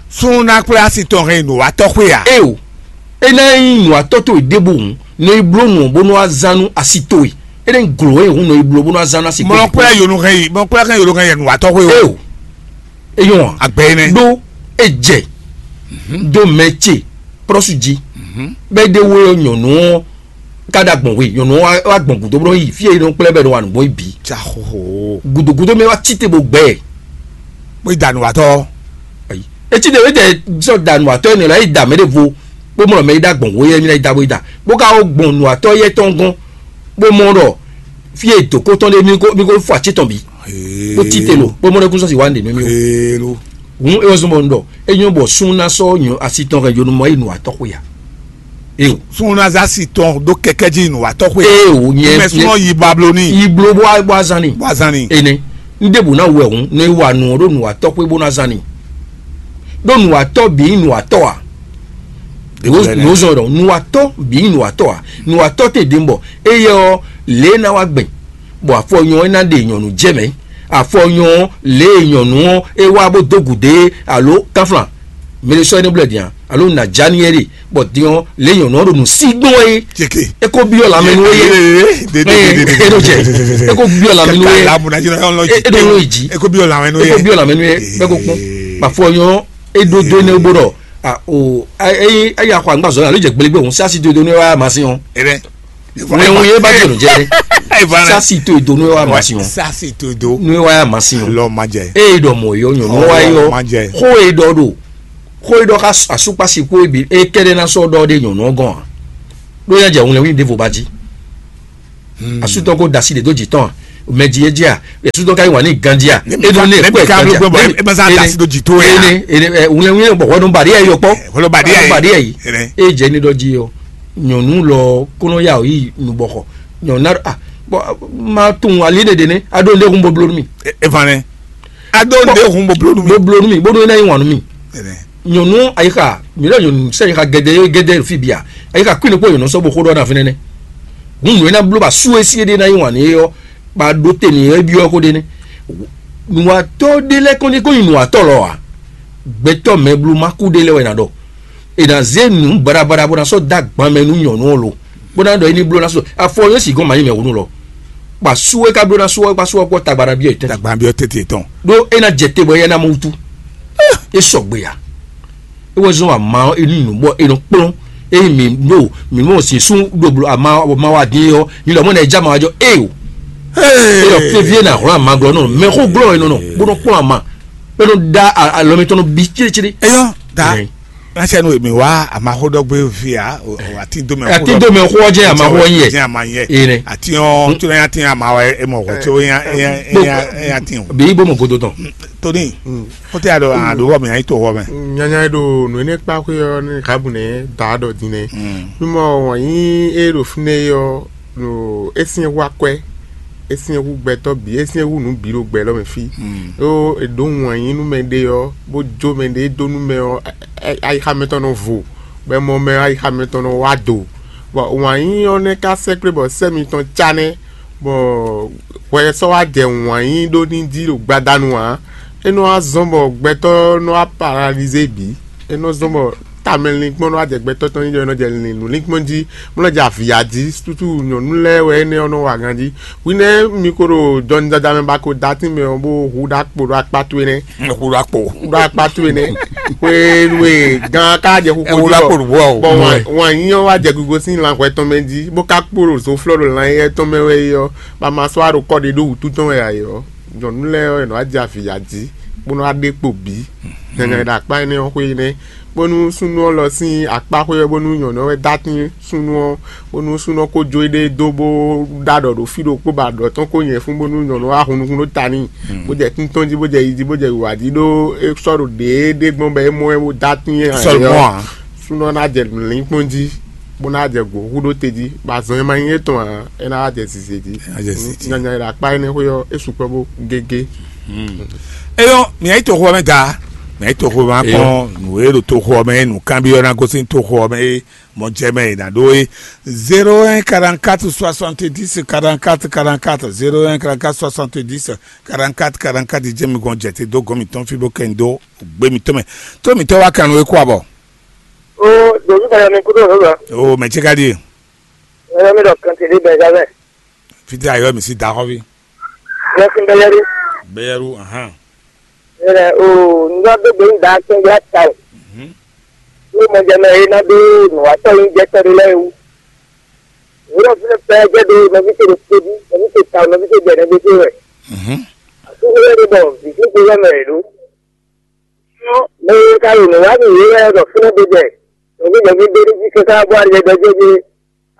Súnnu ná kplá si tɔn hɛn yi nǔwatɔ́ xwé ǎ. É o, é ná nyí nǔwatɔ́ towe ɖěbǔ hǔn, nɔ yi bló nǔ ɔ́ bónú wá zán nú asi towe. É ná nyí glǒ e hǔn nɔ yi bló bónú wá zán nú asi towe. Mɔ kplá yonu hɛn yi, mɔ kplá hɛn yonu hɛn yi nǔwatɔ́ xwé o. É o, é nyɔ́ ǎ. Agbɛ énɛ́. Ɖó é jɛ dó mɛ ce prɔ́su jí. Bɛ́ ɖé wó nyɔ̌nu ɔ́ ka ɖo agbɔ̌n hwe, nyɔ̌nu ɔ́ wá gbɔn gǔdo bó nɔ́ yi fí e é nɔ kplɛ́ bɔ é nɔ wa nǔgbó yi bǐ. Ca xóxó. Gǔdogǔdo mɛ wá cí te bó gbɛ ɛ. Bó yi da nǔwatɔ́. Ayi. Etí ɖe wétɛ sɔ da nǔwatɔ́ énɛ́ lɔ é yi da mɛ ɖěvo, bó mɔ mɛ yi ɖo agbɔ̌n hwe yɛ mí ná yi da bó yi da, bó ka wó gbɔn nǔwatɔ́ yɛ tɔn gɔ́n, bó mɔ ɖɔ fí e dǒkó tɔn ɖe mí ko mí ko fɔ ací tɔn bǐ. Bó cí te lo, bó mɔ ɖɔ kúnsɔ́ si wá nǔ ɖe nú mí o. Hǔn é wɛ zɔ́n bɔ un ɖɔ é nyɔ́ bɔ súnnu ná sɔ́ nyɔ asi tɔn hɛn yonumɔ yi nǔwatɔ́ xwe a? Éo. Súnnu ná zá asi tɔn ɖó kɛkɛ́ jí nǔwatɔ́ xwe. Éo, nyɛ mɛ súnnu yi Babiloni. Yi bló bó wá bó wá zán ni. Bó wá zán ni. Énɛ́. Un ɖěbǔ ná wɛ hǔn, nɔ yi wa nǔ ɔ́ ɖó nǔwatɔ́ xwe bó ná zán ni. Ɖó nǔwatɔ́ bǐ nyí nǔwatɔ́ a? Nǔ zɔn ɖɔ nǔwatɔ́ bǐ nyí nǔwatɔ́ a? Nǔwatɔ́ te ɖě bɔ éyɛ́ ɔ́ lě e ná wá gbɛn, bɔ afɔ nyɔ ɔ́ ná ɖe nyɔ̌nu jɛ mɛ. Afɔ nyɔ ɔ́ lě e nyɔ̌nu ɔ́ é wá bó dó gǔdo é alo kánflán mɛ ɖé sɔ́ é nɔ blɛ́ din a? Alo nǎ já n'i é ɖe bɔ din ɔ́ lě e nyɔ̌nu ɔ́ ɖo nǔ sí gbɔn é. Ceke. É ko byɔ́ lanmɛ nú é. É ɖo jɛ. É ko byɔ́ lanmɛ nú é. É ɖo nú yi jí. É ko byɔ́ lanmɛ nú é. É ko byɔ́ lanmɛ nú é. Bɛ́ ko kpɔn. Bɔ afɔ nyɔ ɔ́ é ɖó dó énɛ́ bó ɖɔ a o é é ya xɔ agbazɔ alo jɛ gblégbé òun sásí dodo nú é wá masín ɔ́. Wɛn wɛn yé ba jɛ nɔ jɛ. Sasi to edo nú wa ma si wọn. Sasi to edo. Nú wa ma si wọn. Lɔ ma jɛ. Eye dɔ mɔ yɔ nyɔ nú wa yɔ. Ma jɛ. Xó e dɔ do. Xó e ɖɔ xá asúkpasi kpó e bǐ é kɛ́ɖɛ́ ná sɔ́ ɖɔ ɖé nyɔ̌nu ɔ́ gɔ́n ǎ. Ɖó nyá jɛ wunlɛnwín ɖěvo ba jí. Asútɔ́ ko da asi ɖě dó jǐ tɔn a? Mɛ jí é jí a? Asútɔ́ ka yí wǎn ní ganjí a? É ɖo ní ẹ̀kọ́ ẹ̀ ganjí a? Ene ene wunlɛnwín bɔ hwɛ nɔ ba ɖi ɛ yɔ kpɔ́. Hwɛ nɔ ba ɖi ɛ yi. Ba ɖi ɛ yi. É jɛ ní ɖɔ jí ɔ, nyɔ̌nu lɔ kó nɔ ya ɔ yí nubɔxɔ. Nyɔ̌nu ná a bɔ ma tunwun ali ɖeɖe nɛ a ɖó ndé hun bó bló nú mi. Evan nɛ. A ɖó ndé hun bó bló nú mi. Bó bló nú mi bónú é ná yí wǎn nú mi. Nyɔ̌nu ayixa mi ɖɔ nyɔ̌nu sɛ ayixa gɛdɛ gɛdɛ fi bia ayixa kwin ɖokpó nyɔ̌nu sɔ́ bo xó ɖɔ na fínɛ́ nɛ́. Hun nǔ e ná bló ba sú e sí é ɖé ná yí wǎn nú é ɔ́, ba ɖó te n'i é byɔ́ xó ɖé nɛ́. Nǔwatɔ́ ɖé lɛ́ɛ kɔn ní kó nyi nǔwatɔ́ lɔ ǎ. Gbɛtɔ́ mɛ bló má kú ɖé lɛ́ɛ wɛ ná ɖɔ. È nǎ zé nǔ baɖabaɖa bó ná sɔ́ dó agban mɛ nú nyɔ̌nu ɔ́ lo, bó ná ɖɔ é ní bló ná sú afɔ yóò sì gɔ́n mǎ nyí mɛ hǔnú lɔ. Bɔ asú e ka bló ná sú ɔ́, bó asú ɔ́ kpɔ́ tagba ná byɔ́ yě tɛ́ntin. Tagba byɔ́ tɛ́ntin tɔn. Ɖó é ná jɛ te bɔ éyɛ́ ná mɔ wútu. É sɔgbe a? É wɛ zɔ́n ama ɔ́, é nú nǔ bɔ é nɔ kplɔ́n. Ényí mǐ ɖo mǐ mɔ sin sú ɖo bló ama ama wa dín ɔ́, mi lɔ mɔ ná é já ma wá jɔ é o. É lɔ fífí é ná hlɔ́n ama glɔ́ nɔ mɛ xó glɔ́ é nɔ nɔ bó nɔ kplɔ́n ama. É nɔ ɖá alɔ mitɔn nɔ bí círícírí. Eyɔ́ da. Nya sɛ nu mi wá amaxóɖɔgbé via o atín dó mɛ. Atín dó mɛ xó ɔ́ jẹ́ amaxó ɔ́ yɛ. Jẹ́ ama yɛ. Ene. Atín ɔ́ tí wọ́n yá tín ama wá ẹ mọ̀ wọ́n tí wọ́n yá yá yá yá tín o. Bí ibo mọ̀ godo tán. Tóní kó tẹ́ àdó àdó wọ́ mi àyí tó wọ́ mɛ. Nyanya e ɖo nǔ énɛ́ kpa xwé ɔ́ ní Rahabu nɛ́ da ɖɔ din nɛ́. Mímɔ wǎn yí e ɖo fínɛ́ é ɔ́, ɖo é syɛ́n hú akwɛ́, é syɛ́n hú gbɛtɔ́ bǐ, é syɛ́n hú nǔ bǐ ɖo gbɛ lɔ́ mɛ fí. Ɖó è ɖǒ wǎn yí nú mɛɖé ɔ́, bó jó mɛɖé dó nú mɛ ɔ́, ayixa mɛtɔn nɔ vo, bɔ é mɔ mɛ ayixa mɛtɔn nɔ wá do. Bɔ wǎn yí ɔ́ nɛ́ ka sɛkplé bɔ sɛ́ mitɔn cá nɛ́, bɔ hwɛ sɔ́ wá jɛ wǎn yí ɖó ní jí ɖo gbadanu ǎ. É nɔ wá zɔ́n bɔ gbɛtɔ́ nɔ wá paralizé bǐ. É nɔ zɔ́n bɔ tamɛlinkpɔ́n nɔ wá jɛ gbɛtɔ́ tɔn nyí ɖɔ é nɔ jɛ lin nǔlinkpɔ́n jí, bó nɔ jɛ avǐya jí, sútú nyɔ̌nu lɛ́ɛ wɛ énɛ́ ɔ́ nɔ wa ganjí. Hwi nɛ́ mi ko ɖo jɔnijada mɛ ba ko dó atín mɛ ɔ́, bó hu ɖó akpo ɖó akpá towe nɛ́. Hu ɖó akpo. Hu ɖó akpá towe nɛ́. Hwenu e gan ka jɛ xixo jí bɔ wǎn nyí ɔ́ wá jɛ gogo sín lan hwɛ tɔn mɛ jí, bó ka kpo ɖo zoflɔ́ ɖo lan éyɛ́ tɔn mɛ wɛ é ɔ́, bɔ a ma sɔ́ wá ɖo kɔ ɖé ɖó wǔtu tɔn wɛ ǎ é ɔ́, nyɔ̌nu lɛ́ɛ ɔ́, è nɔ wá jɛ avǐya jí, bó nɔ wá ɖe kpo bǐ. Nyanya e ɖo akpá énɛ́ ɔ́ xwé énɛ́, bónú súnnu ɔ́ lɔ sín akpá xwé ɔ́, bónú nyɔ̌nu ɔ́ wɛ dó atín súnnu ɔ́, bónú súnnu ɔ́ ko jó éɖée dó bó ɖó aɖɔ̌ ɖo fí ɖokpó bɔ aɖɔ̌ tɔn ko nyɛ fún bónú nyɔ̌nu ɔ́ wá hun nukún ɖó ta n'i, bó jɛ tíntɔ́n jí, bó jɛ yi jí, bó jɛ wǐwá jí ɖó é sɔ́ ɖo ɖěeɖée gbɔn bɔ é mɔ ɛ bó dó atín ɛ ǎ. Súnnu ɔ́ ná jɛ lǐnkpɔ́n jí, bó ná jɛ gǒ hú ɖó te jí, bɔ azɔn e ma nyí étɔn ǎ, é ná wá jɛ zǐzé jí. Nyanya e ɖo akpá énɛ́ xwé ɔ́, é sukpɔ́ bó gégé. Eyɔ́, mǐ yi toxo ɔ́ mɛ da, mǐ yi toxo ɔ́ mɛ kpɔ́n nǔ e ɖo toxo ɔ́ mɛ, nǔkanbyɔ́ ná gosín toxo ɔ́ mɛ é, mɔ jɛ mɛ è nǎ ɖó é. Zéro un quarante-quatre soixante-dix quarante-quatre quarante-quatre, zéro un quarante-quatre soixante-dix quarante-quatre quarante-quatre, jɛ mi gɔn jɛ te dó gɔn mǐtɔn fí bó kɛ nyi dó gbé mǐtɔn mɛ. Tó mǐtɔn wá kan nú é kó abɔ. O ɖo fífá yɔ mi kúrò lọ́wọ́. O mɛ ce ka ɖíe. Ẹ̀rọ mi lọ kàn tèmi bẹ̀rẹ̀ sábẹ́. Fítí ayọ̀ mi sí da xɔ́ví. Lọ́sìn bẹ́lẹ́rú. Bẹ́yẹ̀rú, ahán. Ẹ̀rẹ̀ o ńlá gbégbé ń da kí n gbá ta o. Ní mo jẹ mẹ iná bí nùwátọ́ yín jẹ́ tọ́jú lẹ́yìn wú. Wúrọ̀ fún ẹ pẹ́ jẹ́ bí nọ́bí tó lè tóbi, nọ́bí tó ta, nọ́bí tó bẹ̀rẹ̀ gbé tó rẹ̀. Àtúntò lẹ́nu bọ̀, bìtú kó lọ́mọ ẹ̀ ló. Mɛ ka ɖo nǔ wa nú yě wɛ ɖɔ fínɛ́ ɖé jɛ nǔgbígbɛ́gbí ɖé ní jí káká bó alɛ ɖɔ jɛ́ ɖé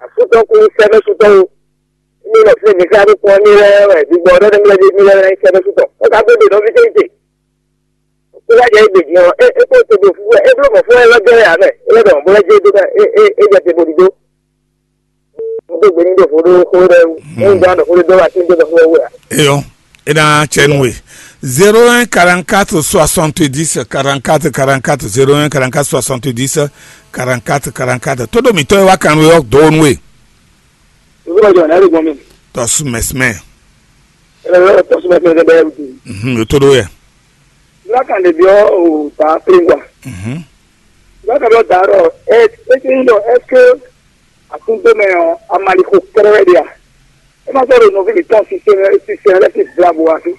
asútɔ́ kú sɛ́ mɛ sútɔ́ ó. Ní lɔ fínɛ́ mi ká ɖó kpɔ́n ní lɛ́ wɛ gbígbɔ ɖɔ nɛ́ mlɛ́ mí lɛ́ sɛ́ mɛ sútɔ́. Ó ka bó ɖe nɔví tɛ́nte. Ó wá jɛ égbè din ɔ́, é é kpó te ɖo fúfú wɛ, é bló mɔ̌ fún wɛ é lɔ jɛ wɛ ǎ mɛ, é lɔ ɖɔ mɔ̌ bó lɛ́ jɛ é dó mɛ, é é é jɛ te bó ɖidó. Mo dó gbe ní ɖo fó ɖó xó ɖɛ wú. Mo ń dán ɖɔ xó ɖé dó wá sí dó ɖɔ xó wɛ wɛ. Eyɔ, é ná tsɛ nú we. Zéro un quarante-quatre soixante-dix quarante-quatre quarante-quatre, zéro un quarante-quatre soixante-dix quarante-quatre quarante-quatre. Tó ɖo mǐtɔn e wá kan nú we ɔ́ dó nú we. Ìwé ọjọ́ náà lè gbọ́n mi. Tɔsumɛsumɛ. Ẹ lọ tọsumẹsumẹ bẹ́ẹ̀ bí. Mhm, o tó ɖó yɛ. Lákàndé bí ọ ò bá pé wà. Mhm. Lákàndé ọ dàárọ̀ ẹ ẹ ti ń lọ ẹ ké àtúntò mẹ ọ amaliko kẹrẹwẹ di a. Ẹ má sọ̀rọ̀ nọfí mi tán sísẹ sísẹ rẹ ti bla bo wá sí.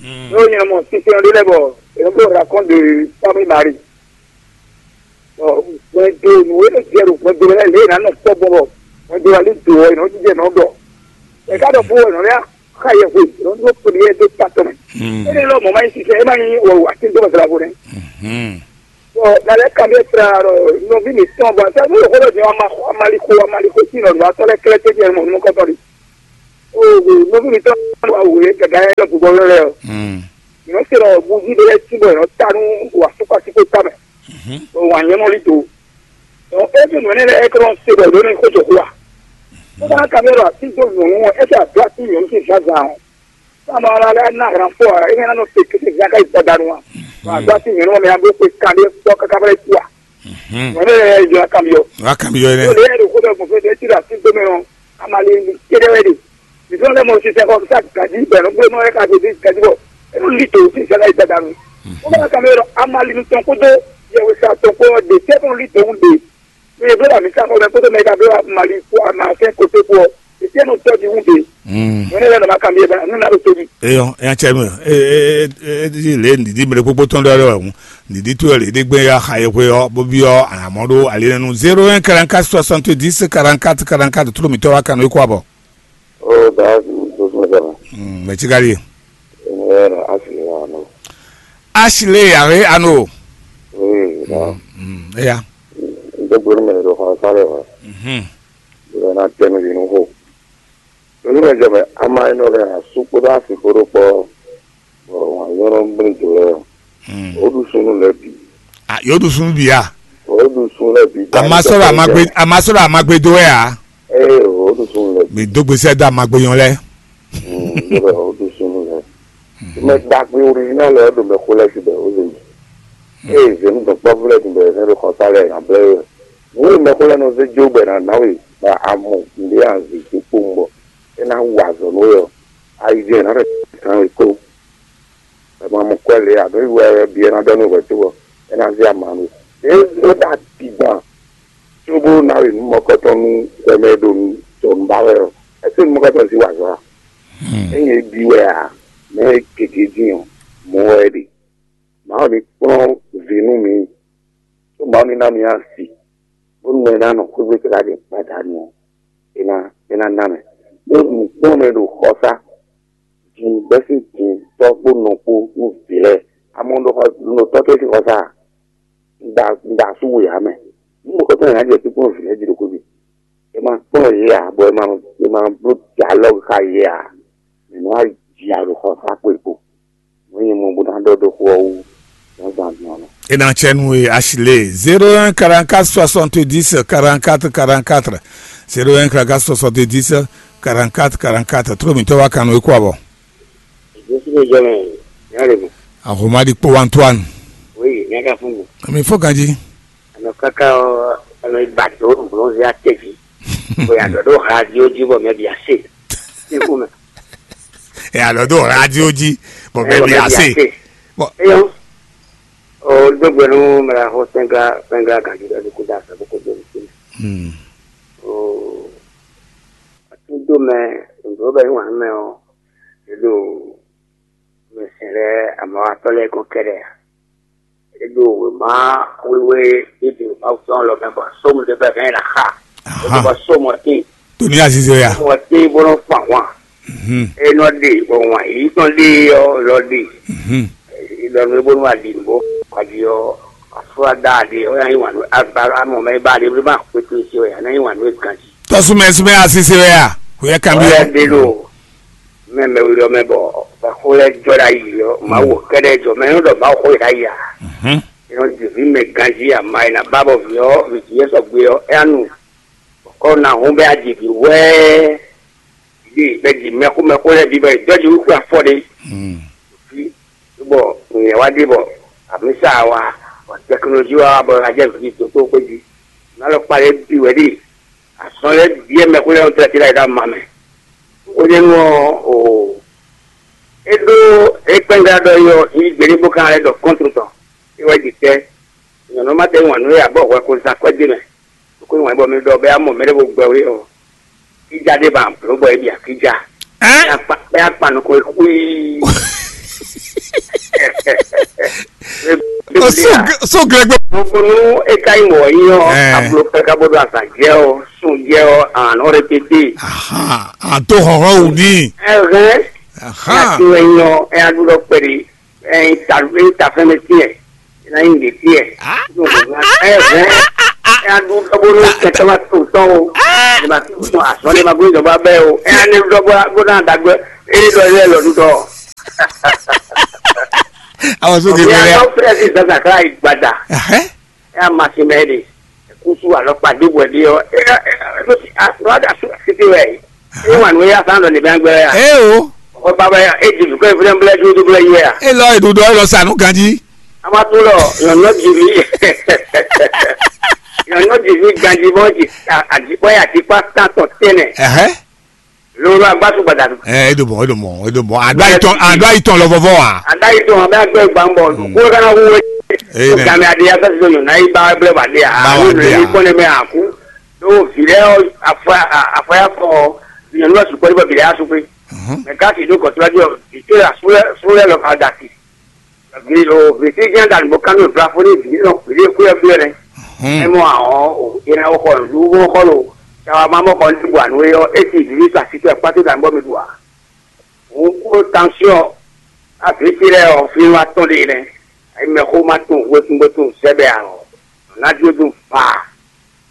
N'o nyɛ mɔ sísẹ rẹ lẹ bọ ẹ bó rakɔn de pami mari. Ɔ gbẹdo nùwé lè jẹ ro gbẹdo lẹ lè nà nọ kpɔ gbọ bọ gbẹdo alẹ do ɔ ẹ nọ jijẹ nọ dọ. Ẹ ká dọ fún ẹ nọ yá ká yẹ hwe ẹ nọ dúró pèlè ẹ dé ta tọ mẹ. Ẹ ní lọ mọ má yín sísẹ ẹ má yín wọ wà tí ń tó bàtà la fún ẹ. Dalɛ kan bɛ tra ɖɔ nɔvi mǐtɔn bɔ sɛ nú yǒxó ɖɔ jɛ amalixo amalixo sín nɔɖuɖu atɔ́ lɛ́ɛ kɛlɛ tɛ́ jɛ mɔ nukɔntɔn ɖi. O nɔvi mǐtɔn wa wǔ yé gɛgɛ yɛ lɔ gbogbo lɔ lɛ ɔ. Yǒ se ɖɔ buzi ɖe lɛ́ɛ cí bɔ yǒ ta nú wa sukpasukpo ta mɛ. Bɔ wa nyɛ nɔ li do. Dɔn e fi nǔ énɛ́ lɛ́ɛ é kɔ nɔ se bɔ yǒ nɔ xó jɔ xó wa. Bó bá kan bɛ ɖɔ así dó nyɔ̌nu ɔ́, é fɛ adó así nyɔ̌nu sín zǎnzǎn ɔ́. Sá ma wá lɛ́ ná hlan fɔ ǎ, é ná nɔ te kété zán ká yi gbadanu a? Wǎ gbá sí nyɔ̌nu ɔ́ mɛ, a bló xwe kanɖé kpɔ́ káká bá yi kú a? Nyɔ̌nu lɛ́ɛ yi jɔ kanbyɔ. Wá kanbyɔ Ó nɛ́. Lě yɛ ɖo xó ɖɔ gbɔn fɛ ɖé tí ɖo así gbé mɛ ɔ́, ama li li kéɖé wɛ ɖe. Mǐ fɛ́n lɛ́ mɔ sísɛ́n xɔ sá gǎjí bɛ̌ nɔ gbé nɔ lɛ́ ka ɖe dé gǎjí bɔ é nɔ li to sísɛ́n ká yi gbadanu. Ó bá kanbyɔ ɖɔ ama li nu tɔn kpódó yɛwesá tɔn kpó ɔ́ ɖe tɛ́ nɔ li to wú ɖe. Mɛ e bló ɖo amǐsa xɔ mɛ kpódó mɛ e ka bló Mali kpó Amasɛn kote kpó ɔ́, Etiɛnu tɔ́ ɖi wú ɖe. Mɛ ne lɛ́ nɔ ma kanbyɔ́ ba nú ná ɖo tóbi. Eyɔn, eya cɛ nu. E e e e lě nǐɖí mɛ ɖé kpókpó tɔn ɖɔ ɖɔ hǔn. Nǐɖí tó lě ɖé gbɛn ya xa yɛhwe ɔ́ bó byɔ́ anamɔ ɖó ali nɛnu zéro un quarante-quatre soixante-dix quarante-quatre quarante-quatre tló mǐtɔn wá kanú é kó abɔ. Ó dá dúdú mɛ jama. Mɛ tí ka ɖíe. Ɛnɛ asi ya no. Ashley yàrá ànú. Oui, dá. Eya. N tó gbóni mɛ ɖo xɔ sáré wa. Bó ná tɛnu yě nú xo. Nínú ɛjɔ mɛ, ama enɔ lɛ asú kpódó asi kpódó kpɔ, bɔ wǎn nyɔ́nɔ gblé jǒ lɛ ɔ́, ó ɖu súnnu lɛ́ɛ bǐ. A yǒ ɖu súnnu bǐ a? Ó ɖu súnnu lɛ́ɛ bǐ. Amasɔ́ɖɔ amagbe amasɔ́ɖɔ amagbe dó wɛ a? Ee, ó ɖu súnnu lɛ́ɛ bǐ. Mi dó gbèsè dó amagbe nyɔ́ lɛ́. Lóbɛ ó ɖu súnnu lɛ́ɛ. Mɛ ɖagbe oríjínál lɛ́ɛ ɖo mɛ xó lɛ́ɛ síbɛ ó lè yi. Ee, zěnu dɔ̌nkpɔ́vú lɛ́ɛ dun bɛ zɛ́n ɖo xɔsá lɛ́ɛ ná blɛ́ we. Nǔ e mɛxó lɛ́ɛ nɔ zé jó bɔ è nǎ ná we, bɔ a mɔ nǔɖé a zǐ dó kpowun bɔ é ná wa azɔ̌ nú we ɔ́, ayi jɛ́n è nǎ ɖɔ kan we kó. Bɔ ma mɔ kwɛ́ lě ǎ, ɖó wɛ bǐ é ná ɖɔ nú hwɛ̌ cóbɔ é ná zé ama nú we. Ě é ɖo ati gban cóbó ná we nǔ mɔkɔ́tɔn nú hwɛ mɛ e ɖo nǔ jɔ nǔ ba wɛ ɔ́, é sɔ́ nǔ mɔkɔ́tɔn jí wa azɔ̌ a? Ényí é bí wɛ ǎ, mɛ e gěgé dín ɔ́, mɔ̌ wɛ é ɖe. Mawu ní kplɔ́n vǐ nú mi, ɖó Mawu ní ná mi asi, bónú mɛ e ná nɔ xwé gbé káká ɖe gbadanu ɔ́, é ná é ná ná mɛ. Ɖó nǔkplɔ́nmɛ ɖo xɔsá, din bɛ́sín din tɔ́ kpó nɔ kpó nú vǐ lɛ́ɛ. Amɔ ɖo xɔ ɖo tɔ́ tɔn sín xɔsá a? Un ɖa un ɖa asú we ǎ mɛ. Nú mɔ̌kɔtɔn nǎ jɛ kpíkpɔ́n vǐ lɛ́ɛ jí ɖo xwé gbe. É ma kplɔ́n yě ǎ, bɔ é ma é ma bló dialɔ́gu xá yě ǎ. Mǐ nɔ́ wá ji aɖo xɔ xá kpo e kpo. Nǔ e nyɛ mɔ bó ná ɖɔ dó xó ɔ́ wú, zǎnzǎn din ɔ́ nɔ. E na cɛ nú we asi lé zéro un quarante-quatre soixante-dix quarante-quatre quarante-quatre. Zéro un quarante-quatre soixante-dix quarante-quatre quarante-quatre. Tró mǐtɔn wá kan nú e kó abɔ. Jésù ló jẹ́ mẹ́, ìyá rẹ̀ mọ̀. Ahoma di kpó Antoine. Oui, ìyá ká fún mi. Àmì fó kan jí. Àná káká ɔ, àná ìgbà tó ń bọ̀ ń zẹ́ àtẹ̀jì. Bóyá dọ̀dọ̀ ha di ó jí bọ̀ mẹ́ bí a ṣe. Ikú mẹ́. Ẹ àlọ́ tó ha di ó jí bọ̀ mẹ́ bí a ṣe. Bọ̀. Eyɔn. O gbogbo nu mɛ la xɔ sɛnga sɛnga ganji ɖe ko da sɛ ko do ni. Hmm. O atudo mɛ ndo bɛ yin wan mɛ o. Edo mɛ sɛn lɛ amawatɔ lɛ ko kɛdɛ. Edo wema wewe edo ma sɔn lɔ mɛ bɔ sɔmu de bɛ mɛ la xa. Edo bɔ sɔmu ti. Toni azize ya. Sɔmu ti bɔ nɔ fa wan. Mhm. Enɔ de bɔ wan yi tɔn de yɔ lɔ de. Mhm. Ìlọrin bó wà dì bó kɔdí ɔ afúrádá de ó yà yín wà ní agbára mọ̀ mẹ́ bá de bí bá pété sí ó yà ní yín wà ní ganji. Tɔsumɛ sumɛ asisi wɛ ya. Kò yẹ kan bí Ó yà yẹ. Dé lò mẹ́mẹ́ wí lọ mẹ́ bọ̀ bàkó lẹ́ jọ la yìí lọ màá wò kẹ́dẹ́ jọ mẹ́ yóò dọ̀ bá wò kó yìí la yà. Mhm. Ìran dèbí mẹ́ ganji àmà yìí nà bá bọ̀ fi ọ́ fi tì yẹ sọ gbé ọ́ ẹ́ ànú. Kɔ na hun bɛ adzi bi wɛɛ. Bi bɛ dzi mɛxó mɛxó lɛ bi bɛ dɔdzi wúkú afɔ ɖe. Fi bɔ nyɛ wa ɖe bɔ amisa wa bɔ tɛkinolozi wa bɔ adze vi toto kpe dzi. N'alɔ kpa lɛ bi wɛ ɖi. Asɔn lɛ biɛ mɛxó lɛ ŋutɔ ti la yi ɖo ama mɛ. O ɖe nu ɔ o. Eɖo ekpɛngla ɖɔ yɔ yi gbeli bó kan lɛ ɖɔ kɔntru tɔn. Ewɛ dzi tɛ. Nyɔnu ma ɖe ŋu anu ya bɔ hwɛ ko zan kɔdzi mɛ. Ko ŋu bɔ mi ɖɔ bɛ amɔ mɛ ɖe bo gbɛ we ɔ. Kidza ɖe ba blo bɔ ebi akidza. Hein? Bɛ akpa bɛ akpa nukun kui. So gre- so gregbe. Nukunu eka yi mɔ yi ɔ. Eh. Ablo pɛ ka bo do azan jɛ ɔ sun jɛ ɔ an ɔ rɛpete. Aha, a do hɔhɔ wù ní. Ɛhɛn. Aha. Yàtí wɛ nyɔ ɛ adu lɔ pɛri ɛ ta ɛ ta fɛn bɛ tiɛ. Ina yin ɖe tiɛ. Ɛ vɛ. Ɛ adu dɔbɔ no kɛtɛ ma to tɔn o. Ɛ ma to tɔn asɔ ne ma gbé dɔbɔ abɛ o. Ɛ ane dɔbɔ bó na dagbe. Ɛ dɔ yɛ lɔ dudɔ. Àwọn sókè Ɔbí bẹ̀rẹ̀. atɔ fúlẹ̀ sí zazakla ìgbàdà. Ẹ̀hẹ́. Ɛ ma si mɛ de. Kusu alɔ kpa dé bɔ dé ɔ. Ɛ ɛ ɛ ló ti a ló ada su títí wɛ. Ɛ wà nù ya san dɔ ní bɛ gbɛ ya. Ẹ o, Ɔ baba ya e di lukɔ ìfúnná bla ju tó bla yíwɛ ya. ẹ lọ ìdúdú ẹ lọ sànú ganjí. A ma tó lɔ yɔnɔ jìbí. Yɔnɔ jìbí ganji bɔ jì àdìpɔ yà àdìpá tán tɔ tẹnɛ. Ẹ̀hẹ́. Lórí agbásù gbàdàdù. Ẹ ẹ dùn mọ́, ẹ dùn mọ́, ẹ dùn mọ́. Àdó àyítọ́, àdó àyítọ́ lọ fọ́fọ́ wa. Àdáyé tó wọn bá gbẹ gbà ń bọ kó ká náà wúwo. Ee, nẹ. Gàmì adìyẹ afẹ́ sísọ yòó náà yí bá blẹ̀ wà dé à. Bá wà Àwọn dé ènìyàn à. Yìí kọ́ni mẹ́ àkú. Ló fi lẹ́ àfọyàfọ ìyẹn ló sùn pẹ́lú bọ̀bìlẹ̀ aṣọ pé. Mẹ ká sì dó kọ̀tún lọ́jọ́ ìtò àsúlẹ̀ lọ ká dà sí. Vètí jẹ́ dànù bó kánú ìfúra fún ní ìdílé náà pèlè kú ẹ fúlẹ̀ rẹ. Ẹ mọ àwọn ìran ọkọ ìlú wọn kọ́ lò. Ṣàwọn máa mọ́kọ ní ìbò àná yọ é ti ìdílé sàṣìṣe pátó dànù bọ́ mi dùn à. Òun kó tansiɔn àbí tirẹ̀ ọ̀ fi wá tɔn de rẹ. Ẹ mẹ kó má tún wékúngbótún sẹ́bẹ̀ àrọ̀. Ọ̀nà dúdú fà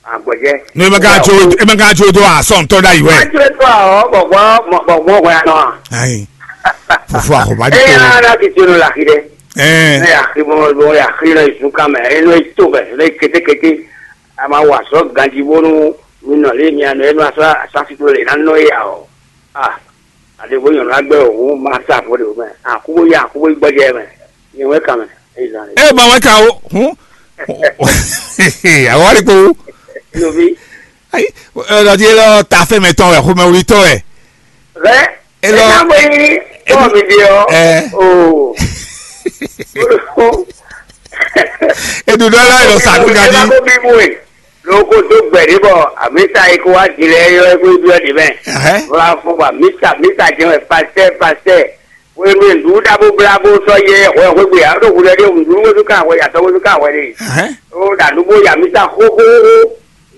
àgbọ̀jẹ́. Ní ẹ máa ká tso, ẹ máa ká tso tó àsọ̀ntọ́ dá yìí wẹ̀. Má tún ètò àwọ̀ bọ̀gbọ́n bọ̀gbọ́n ọ̀gbọ́n yà náà. Ayi. Fúfú àkọ́bá Ẹ jẹ́ yà tó. Rárá kì í tiẹ̀ lọ làkì dẹ. Ẹ Ẹ yà kí mo lọ yà kí lọ ìsún ká mẹ ẹ lọ ètò bẹ lọ kétékété. A máa wà sọ ganji bónú mi nọ lé mi àná ẹ lọ asọ asásító lè ná nọ yà ọ. A àdéhùn yàn lágbẹ́ òun máa sá àbúrò mẹ àkúbó yà àkúbó gbọ́jẹ́ mẹ. Ìwé kà mẹ. Ẹ zàn rẹ. Ẹ máa wá ká o. Hun. Àwọn àríkò. Lóbi. Ayi. Ẹ lọ di ẹ lọ ta fẹ́ mẹ tán ẹ, xomẹ wuli tán ẹ. Bẹ́ẹ̀ Ẹ ẹ lọ. Náà bọ̀ yìí bọ́ọ̀ mi di ọ. Ẹ. O. Edudɔ la yɔ sa kuka Ẹ bá di. kó bí mú ẹ. Lóko tó gbẹ̀dí bọ̀ àmísà yìí kó wá di lẹ yọ ẹgbẹ́ ibi ọ̀dì mẹ́. Ẹhẹ́. Wọ́n á fún wa mísà mísà jẹ́ wẹ̀ pastẹ́ pastẹ́. Wọ́n mi lù ú dábò blábò sọ yẹ ẹ̀họ́ ẹ̀họ́ gbé yàrá tó wulẹ̀ dé wùdú wọ́n tún ká àwọ̀ yàtọ̀ wọ́n tún ká àwọ̀ dé. Ẹhẹ́. Ó dàdúgbò yà mísà hóhóhó.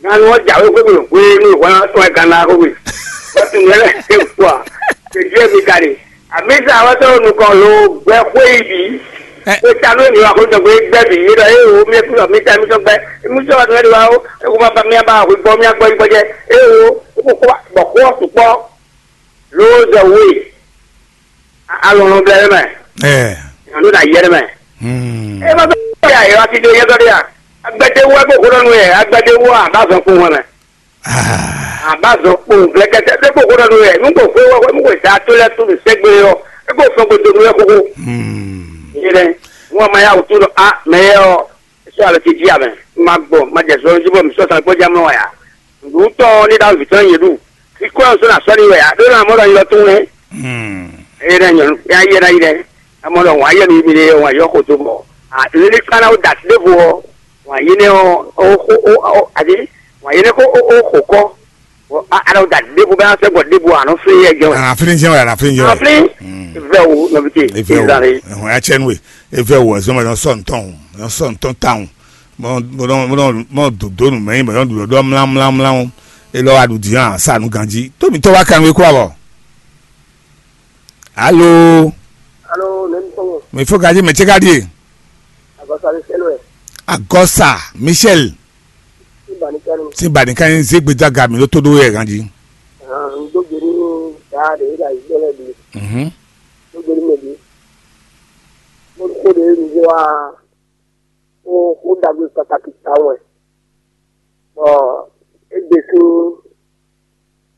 Ganu wọn jà wípé mi ò gbé inú ìwọ náà tún ẹ gánà kó wè. Wọ́n tún yẹn lẹ́sẹ̀ fún wa. Kèjú ẹ̀mí ka ni. Àmísà wọ́n tọ́ nukọ̀ ló gbẹ kó ìbí. Ẹ. Pé ta ló ní wa kó dọ̀gbé gbẹ bì yìí lọ. Ẹ wo mi kúrò mi ta mi tọ́ gbẹ. Mi tọ́ wa tó lẹ́nu wa o. Ẹ kó má ba mi bá wí gbọ́ mi gbọ́ yí gbọ́jẹ́. Ẹ wo ó kó bọ̀ kó ọ̀sùn pọ̀. Ló ń zọ wé. Alɔ̀nà bẹ̀rẹ̀ mẹ́. Ẹ. Ìyànjú náà yẹrẹ mẹ́. Hmm. Ẹ bá bẹ́ẹ̀ yà yẹ wá sí dé yẹ sọ́dọ̀ yà. Agbẹ́dẹ́ wọ́ ẹ kó kó lọ́nu yẹ. Agbẹ́dẹ́ wọ́ àbá fẹ́ kó wọn mẹ́. Ah. Àbá zɔ kpó nvlɛkɛtɛ ɖé kpó kó ɖɔ nú yɛ nú kò fé wɔ nú kò zá tó lɛ tó nù sɛgbé yɔ é kò fɛn kò donu yɛ kókó. Hmm. Yé dɛ ŋɔ ma ya wò tó lɔ a mɛ yɛ ɔ sɔ alɔ ti di amɛ ma gbɔ ma jɛ zɔn jí bɔ mi sɔ sàn kpɔdí amɔ wà yà. Ndu tɔ ní dá vìtɔ yé ɖu ikú ɛ sɔ na sɔ ni wɛ yà ɖó na mɔ ɖɔ yɔ tó wɛ. Hmm. Yé dɛ nyɔnu ya yé na yi dɛ amɔ ɖɔ wà yɛ mi mi dɛ wà yɔ kò tó bɔ a lili kpana wò dati ɖé vo ɔ wà yé nɛ ɔ o o o adi wà yé nɛ kó o o kò kɔ. Bon, a a ɖo da ɖěvo bɛ asɛ gbɔ ɖěvo anɔ fli yɛ jɛ wɛ. Ana fli jɛ wɛ, ana fli jɛ wɛ. Afli vɛ wo nɔvite. Efe wo. Ezali. Ɛhɔn ya tsɛ nue. Efe wo ɛzɔn mɛ nɔ sɔ ntɔn, nɔ sɔ ntɔn tawun. Mɔ mɔ mɔ mɔ dodo nu mɛ mɔ do do mla mla mla wo. Elɔ wa ɖu di hã sa nu ganji. Tómi tɔ wa kan we kura bɔ. Alo. Alo, ne mi tɔgɔ. Mi fo gaji mɛ tse ka die. Agɔsa mi sɛlɛ. Agɔsa Michel. Ibanikani. Sin bani kan zé gbedza ga mi ɖó tó ɖó yɛ ganji. Ndo gberi da de ila yi gbɛlɛ bi. Mhm. Ndo gberi mɛ bi. Mo ko de mi wa o o dagbe pataki ta wɛ. Bɔ egbe sin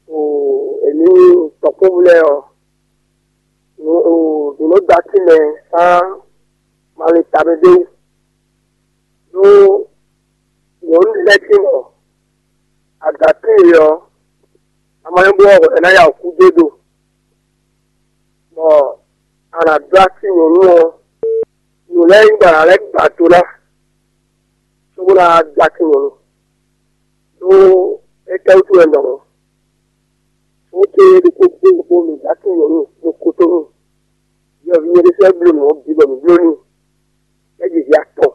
o emi tɔkpɔnvu lɛ ɔ o o do nɔ da ti mɛ san mali ta bɛ de. Ɖó nyɔ̌nu lɛ́ɛ tín ɔ́, aga tíin ɔ́, a ma nyɔ́ bló ɔ́, è nǎ ya wǔ kú dó do, bɔ a nǎ dó así nyɔ̌nu ɔ́, nǔ lɛ́ɛ nyí bɔ a nǎ lɛ́ gba do ná, cóbó ná dó así nyɔ̌nu. Ɖó étɛ́ wútu wɛ un ɖɔ mɔ̌? Fó ce ɖokpó kpó ɖokpó mǐ dó así nyɔ̌nu ɖo kotonu. Yɔ̌ví nyɛ ɖésú wɛ bló nǔ ɔ́ bǐ bɔ mǐ bló n'i. É jɛ vǐ atɔn.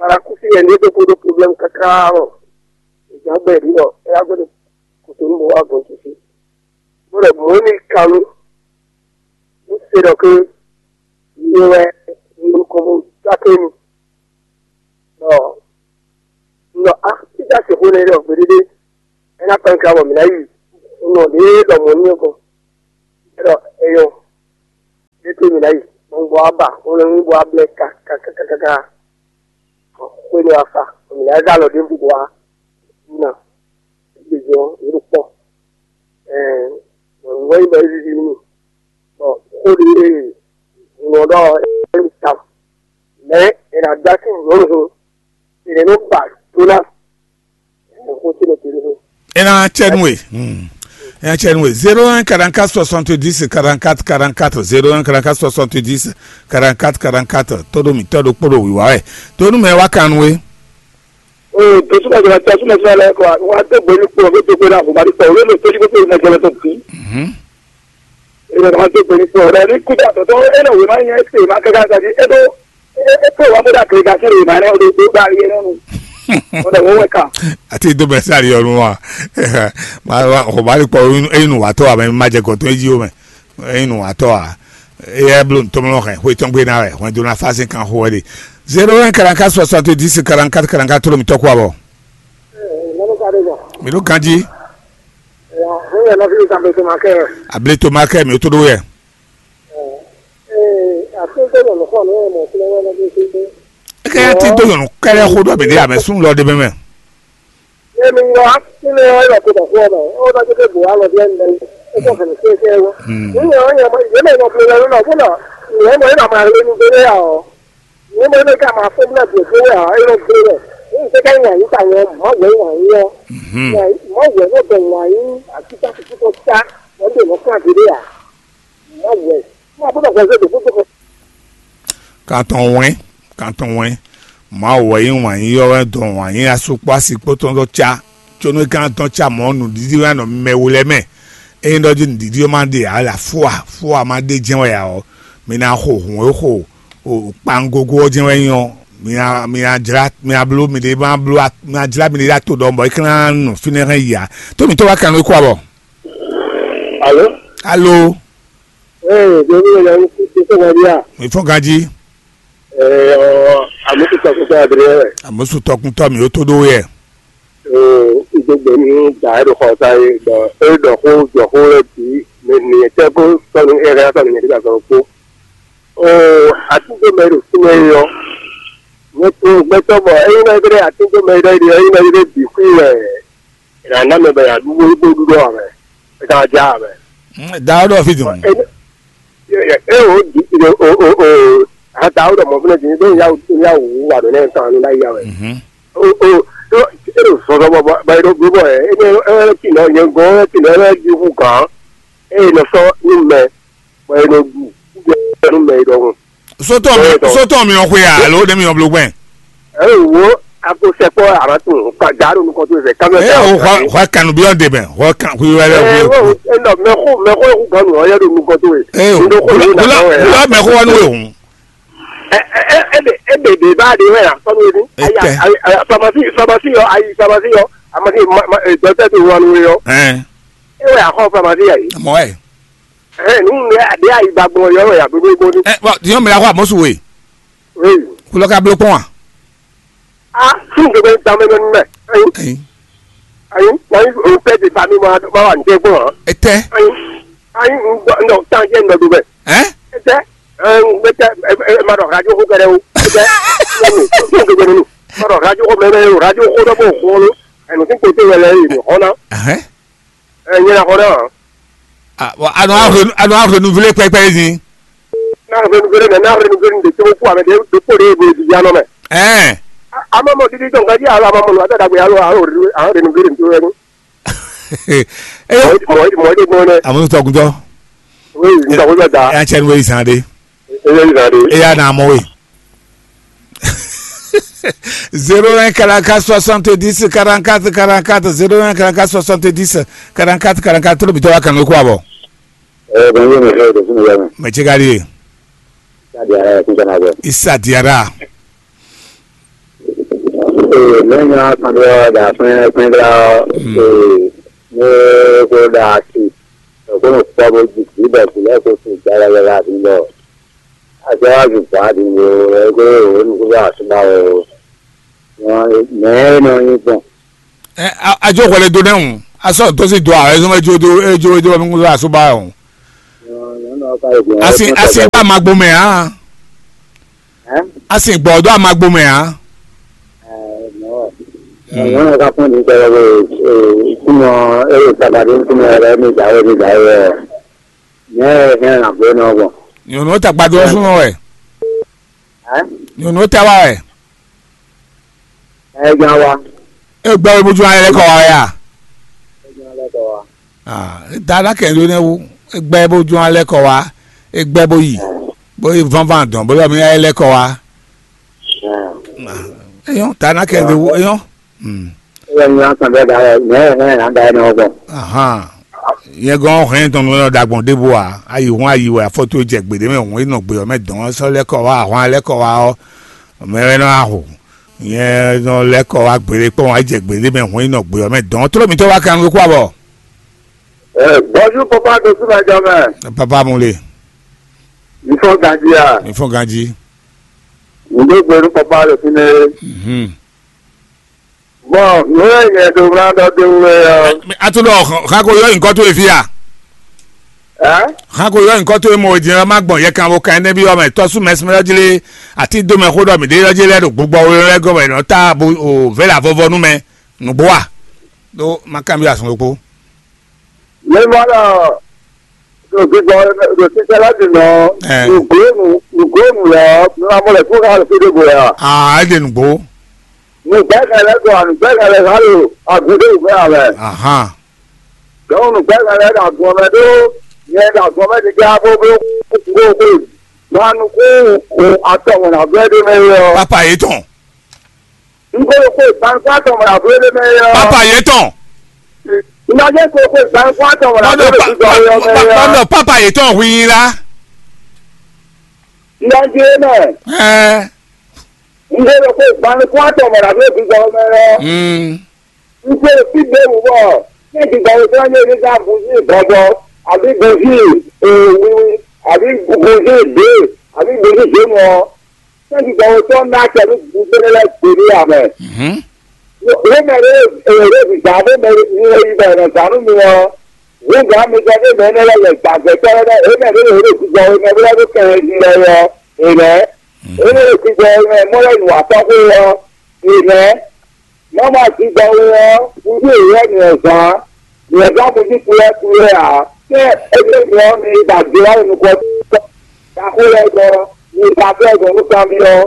Parakúsi yɛ ní é ɖokpó ɖó problème káká ɔ́, è jǎn gbɛ ɖě ɖɔ é wá gbɔdɔ kotonu bɔ wá gɔn titi. Bó ɖɔ mɔ̌ ní kanú, ní se ɖɔ ké nyɛ wɛ nukɔn bó jáké mi. Tá sixú nɛ ɖɔ gbeɖéɖé, é ná kpɛn ká bɔ mǐ ná yi nɔ ɖě ɖɔ mɔ̌ n'i ɔ́ kɔ. É ɖɔ é nyɔ́, ɖé tó mǐ ná yi, gbɔngbɔ wá ba, ó lɔ nyí bɔ wá blɛ́ kákákákáká. Xwénu afa, mǐ ná zá alɔ ɖěbǔ bɔ wá ná gbejɔ yě ɖo kpɔ́. Ɛɛ, nyɔ̌nu wɛ nyí bɔ é víví nú mì. Bɔ xó ɖé e un nɔ ɖɔ ɔ́, é nyí ta. Mɛ̌ è nǎ dó así nyɔ̌nu hun, è nǐ nɔ ba dó ná xó ce nɔ te ɖó. É ná cɛ nú we. Hmm. É ná cɛ nú we. Zéro un quarante-quatre soixante-dix quarante-quatre quarante-quatre, zéro un quarante-quatre soixante-dix quarante-quatre quarante-quatre. Tó ɖo mǐtɔn ɖokpó ɖo wǐwá wɛ. Tó nú mɛ wá kan nú we. Oo, tó súnmọ́ ìjọba tí a súnmọ́ sílẹ̀ lẹ́kọ̀ọ́, wọ́n á tó gbé ní kúrò, tó gbé náà kò bá rí pọ̀, olóòlù tó ní kó tó ìmọ̀ ìjọba tó kù. Mhm. Ìrọ̀lẹ́ wọn tó gbé ní kúrò, ọ̀rẹ́ ní kúta tọ̀tọ̀, ẹ lọ wò máa ń yẹn ẹ pè máa kẹ́kẹ́ àti ẹ tó, ẹ pè wá bódà kiri ká sẹ́rù ìmọ̀ rẹ, ó lè gbé gbá ayé náà nù. Ó lè wọ́n wẹ̀ ká. Àti ìdó bẹ̀rẹ̀ sáré ọ̀run wa. Màá wá, kò bá rí pọ̀, eyín nù wá tọ́ àmọ́ ẹ má jẹ gọ̀tún, ẹ jí o mẹ́. Eyín nù wá tọ́ à. Eyɛ bló ntɔmlɔ hɛn, xwe tɔn gbe na wɛ, hwɛn dó na fásín kan xo wɛ ɖe. Zéro un quarante-quatre soixante-dix quarante-quatre quarante-quatre, tó ló mi tɔ́ kú abɔ. Mɔnú ka ɖe gbɔn. Mi ɖo ganji. Ya, ní yẹn lọ sí ìsàmì tó máa kẹ́ ẹ̀. Abili tó máa kẹ́ mi ó tó ɖó yɛ. Ee, àti tó lọ lọ́kọ̀ ní ẹ̀mọ̀ tí wọ́n lọ bí ṣe ṣe. É kẹ́ yá tí tó yɔ̀nù kẹ́lẹ́ xó ɖɔ mi ɖé àmẹ́ sún lɔ ɖé mẹ́mẹ́. Emi ŋlɔ akpínɛ ɔ́ yɔ ko dɔ̀kú ɔmɛ, ó ná jẹ́ kó bò alɔ bí ɛnɛ lɛ, é kó fɛ̀nɛ kí é kí é wó. Hmm. Ní yẹn ɔ́, yẹn mɔ, yẹn mɛ yɔ fún yẹn lónà fún nà, yẹn mɔ yẹn nà máa lé ní gbélé ǎ ɔ́. Yẹn mɔ yẹn ká máa fún náà bìí gbélé ǎ, é ló gbélé. Ní ìṣe ká yàn yín ta yẹn, mọ́ wẹ̀ yàn yín ọ́. Mhm. Mọ́ wẹ̀ ló bẹ̀ yàn yín, àti ká fi kúkọ tá, wọ́n lè mọ́ fún àgbélé ǎ. Mọ́ wẹ̀, mọ́ àbúrò kan ṣe dòkú tó kọ. Kan tɔn wɛn, kan tɔn wɛn. Mawu wɛ nyí wǎn yíyɔ́ wɛ dɔn wǎn yí asú kpó asi kpó tɔn dó cá, có nú é ka ná dɔn cá mɔ̌ nǔɖiɖi wɛ nɔ mɛ we lɛ́ɛ mɛ. Ényí ɖɔ jí nǔɖiɖi ɔ́ ma ɖe ǎ wɛ, afúa fúa ma ɖe jɛ́n wɛ ǎ ɔ́, mi ná xo hǔn e xo kpangogo ɔ́ jɛ́n wɛ nyí ɔ́, mi ná mi ná jlá mi ná bló miɖée ma bló mi ná jlá miɖée ɖó ato ɖɔhun bɔ é ka ná nɔ fínɛ́ hɛn yi ǎ. Tó mǐtɔn wá kan nú é kú abɔ. Alo. Alo. Ee, ɖo ní ɛyɛ wútu tó sɔ́ wɛ ɖíà. Mi fɔ́n ganjí. Ee, ɔ, àmúkútɔkútɔ Adriyɛn wɛ. Àmúsù tɔkúntɔ mi ó tó ɖó yɛ. Oo, ìdógbè ní gbà ẹ́ ɖo xɔ ta é ɖɔ é ɖɔ xó jɔ xó lɛ bǐ mɛ nìyẹn tẹ́ kó sɔnù é hɛn sɔnù yẹn nígbà sɔrɔ kpó. Oo, àtúntò mɛ ɖo fínɛ́ é ɔ́. Nyɛ kún gbɛtɔ́ bɔ é nyí mɛ ɖé àtúntò mɛ ɖé ɖi é nyí mɛ ɖé bǐ xwí wɛ. È nǎ ná mɛ bɔ è nǎ ɖu bó bó ɖu ɖɔ ǎ mɛ, è ka wá já ǎ mɛ. Dǎ ɔ́ ɖɔ fí dùn. É é o di o o o a dǎ ó ɖɔ mɔ̌ fúnɛ din ɖó ya ya wǔ wà ɖó nɛ́ tɔn ní láyé ya wɛ. Mhm. O o ɖó é ɖo zɔzɔ bɔ bɔ bɔ é ɖo bló bɔ ɛ é é é tinɔ yɛn gɔ́n é tinɔ é ɖi hú gǎn é nɔ sɔ́ nú mɛ bɔ é nɔ ɖu kúgbɛ nú mɛ é ɖɔhun. Sótɔ́ mi Bẹ́ẹ̀ dɔn. Sótɔ́ mi ɔ́ xwe a alo ɖé mi ɔ́ bló gbɛn. Ɛ wo a ko sɛkpɔ a ma tun ka da ɖo nukɔn to zɛ kamɛ. Ɛ o xɔ xɔ kanu bi ɔn de mɛ xɔ kan xwi wɛ lɛ Ɛ xwi. Wo e nɔ mɛxo mɛxo eku ganu ɔ yɛ ɖo nukɔn to ye. Ɛ o Ndo ko wula le na wula kɔ wɛ. Wula mɛ xɔ wanu we hun. Ɛ ɛ ɛ de e de de ba de wɛ la kɔnu ye ni. Ayi Etɛ. Ayi ayi famasi famasi yɔ ayi famasi yɔ amasi ma ma dɔtɛ to wanu ye yɔ. Ɛ E wɛ axɔ famasi yɛ yi. Mɔ ɛ. Ɛ nu ne a de ayi ba gbɔn yɔ wɛ ya gbogbo gbɔ ni. Ɛ bɔn yɔn mi la xɔ amosu we. Oui. Kulɔ ka blo kpɔn wa. A tún gbogbo ta mɛ mɛ mɛ. Ayi. Ayi. Ayi na yi o pɛ de ba mi ma ma wa n tɛ gbɔn. Etɛ. Ayi. Ayi n dɔ n dɔ tan jɛ n dɔ do bɛ. Ɛ. Etɛ. Ɛ n bɛ tɛ ɛ ɛ ma dɔ radio ko kɛrɛ o. Etɛ. N dɔ do bɛ nunu. Ma dɔ radio ko mɛ mɛ o radio ko dɔ b'o ko lo. Ɛnu ti ko te wɛ lɛ yi ni xɔ na. Ɛhɛn. Ɛ nyɛ na xɔ na. Ah, bon, a nɔ a renouveler pɛpɛ yi. N'a renouvelé, mais n'a renouvelé de tɔgɔ kú avec des de kó de de di yanɔ mɛ. Ɛɛ. A ma mɔ didi dɔn ka di alo a ma mɔ nɔ a tɛ dagbe alo alo a renouvelé de to yɛ ni. Ee. Mɔ mɔ mɔ de gbɔn dɛ. Amu tɔkuntɔ. Oui, n tɔgɔ bɛ da. E y'a cɛ ni wei zan de. E y'a zan de. E y'a na mɔ wei. Zéro un quarante-quatre soixante-dix quarante-quatre quarante-quatre, zéro un quarante-quatre soixante-dix quarante-quatre quarante-quatre, tolo bitɔ wa kan ko abɔ. Ɛɛ, bonjour, monsieur, de Sénégal. Mɛ ce ka di ye? Ka di ara ye, kun kana bɔ. Isa Diarra. Ee, ne nya kan dɔ da fɛn fɛn da. Hmm. Ee, ne ko da si. Ko no kpɔ bo ji ji bɛ kulɛ ko si ja ya ya la bi lɔ. Ajawazu gbadin o, ego o nukuba asuba o. Mɛ e nɔ nyi gbɔn. Ɛ, a- a jó hwɛɖe dó nɛ́ hǔn, a sɔ́ dó sí do ǎ, é zɔ́n é jó dó é jó é jó mi ŋú asúbá ɔ́ hǔn. Asi asi bá ma gbó mɛ ǎ. Asi gbɔ dó a ma gbó mɛ ǎ. Nyɔnu ka fún ní sɛ ɛ kúnɔ ɛ yóò sábàdé kúnɔ ɛ ní ìdáwó ní ìdáwó ɛ nyɛ ɛ hɛn àgbẹ̀ náà gbọ̀n. Nyɔnu ta gbadó súnmọ́ wɛ. Nyɔnu ta wá wɛ. Ẹ gan wa. E gbɛ bó ju ayɛ lɛ kɔ wa ya. Ẹ gan lẹ kọ wa. Ah, e da na kɛ do ne wu. E gbɛ bó ju alɛ kɔ wa. E gbɛ bó yi. Bó yi vanvan dɔn bó lɔ mi ayɛ lɛ kɔ wa. Eyɔn da na kɛ do wu eyɔn. Hmm. Ẹ yẹ ní wọn kàn bẹ da ẹ mẹ ẹ náà da ẹ náà gbọ. Ahan. Yẹn gɔn hɛn tɔn nɔ da gbɔn ɖěvo a ayi hun ayi wɛ afɔto jɛ gbede mɛ hun enɔ gbe ɔ mɛ dɔn sɔ lɛ kɔ wa ahwan lɛ kɔ wa ɔ mɛ wɛ nɔ aho. Nyɛ nɔ lɛ́ kɔ wá gbeɖé kpɔ́n wá jɛ gbeɖé mɛ hɔn yi nɔ gbé ɔ́ mɛ dɔn tló mitɔ́ wá kan nú kú abɔ. Ɛ, bonjour papa de sous la jamɛ. Papa mu le. Mi fɔ ganji a? Mi fɔ ganji. Mi ɖo gbe nú papa le fínɛ́. Mhm. Bon, nǔ e nyɛ ɖo ná ɖɔ dó wú wɛ ɔ́. A tún ɖɔ xan ko yɔ nyǐkɔ towe fí a? Ɛ? Xan ko yɔ nyǐkɔ towe mɔ wědín ɔ́ má gbɔn yɛ kan bo kan énɛ́ byɔ́ mɛ tɔ́sú mɛsmɛ ɔ́ jlé. Atí dó mɛ xó ɖɔ mǐ ɖe ɔ́ jlé ɖo gbogbɔ we lɛ́ɛ gɔmɛ nɔ tá abu o vɛ̌ lǎ vɔvɔ nú mɛ nǔgbó a? Ɖó má kanbyɔ́ azɔn ɖokpó. Mi mɔ ɖɔ ɖo gbígbɔ ɖo títɛ lɛ́ɛ bǐ mɛ ɔ́, Ɛ. Nǔgló nǔ nǔgló nǔ lɛ́ɛ ɔ́, mi ma mɔ lɛ̌ kú xá ɖo fí ɖěvo wɛ a? Aa é ɖe nǔgbó. Nǔgbɛ́hɛn lɛ́ɛ gbɔ nǔgbɛ́hɛn lɛ́ɛ xá ɖo agun ɖé wǔ mɛ ǎ mɛ. Ahán. Dɔ̌n nǔgbɛ́hɛn lɛ́ɛ ɖo agun ɔ́ mɛ ɖó nyɛ ɖo agun ɔ́ mɛ ɖiɖa bó bló kúkú xwe. Gban nukún atɔn mɔ̌ ná vɛ́ ɖé mɛ é ɔ́. Pápá yětɔn. Un ko ɖo xwe gban nukún atɔn mɔ̌ ná vɛ́ ɖé mɛ é ɔ́. Pápá yětɔn. Un ná jẹ́ ko xwe gban nukún atɔn mɔ̌ ná vɛ́ ɖé mɛ é ɔ́. Pápá yětɔn hu yín lá. Un ná jẹ́ é mɛ. Ɛɛ. Un ko ɖo xwe gban nukún atɔn mɔ̌ ná vɛ́ ɖé mɛ é ɔ́. Mm. Nse fí ɖěbǔ bɔ ní gbígbɔ e sɔ́ nyí Elizabɛti bɔbɔ, abǐ gǔzí wiwi, abǐ gǔzí dě, abǐ gǔzí děnu ɔ́, ní gbígbɔ e sɔ́ ná acɛ nú gǔzí lɛ́ɛ gbeɖé ǎ mɛ. Lě mɛ ɖé e ɖo vǐvá ɖé mɛ e yi bɔ è nɔ zǎn nú mi ɔ́, hǔn gǎn mitɔn ɖé mɛ énɛ́ lɛ́ɛ lɛ gbǎgbɛ́tɔ́ lɛ́ɛ, é mɛ ɖé e ɖo gbígbɔ e mɛ bó lɛ́ ɖó kɛnlɛjí lɛ́ɛ ɔ́, è nɛ̌? É ɖo gbígbɔ e mɛ mɔ lɛ́ nǔ wa tɔ́ xó ɔ́, è nɛ̌? Mama zigba we ɔ́, wúdú yěyɔ́ nyɛ zán, nyɛ zán mudí kúlɛ́kúlɛ́ ǎ. Tɛ́ éɖé nyɛ ɔ́ mi ba do wá nukɔn ɖaxó lɛ́ɛ gɔ́, mi ba fɛ́ gɔ̌ nú kanbyɔ́,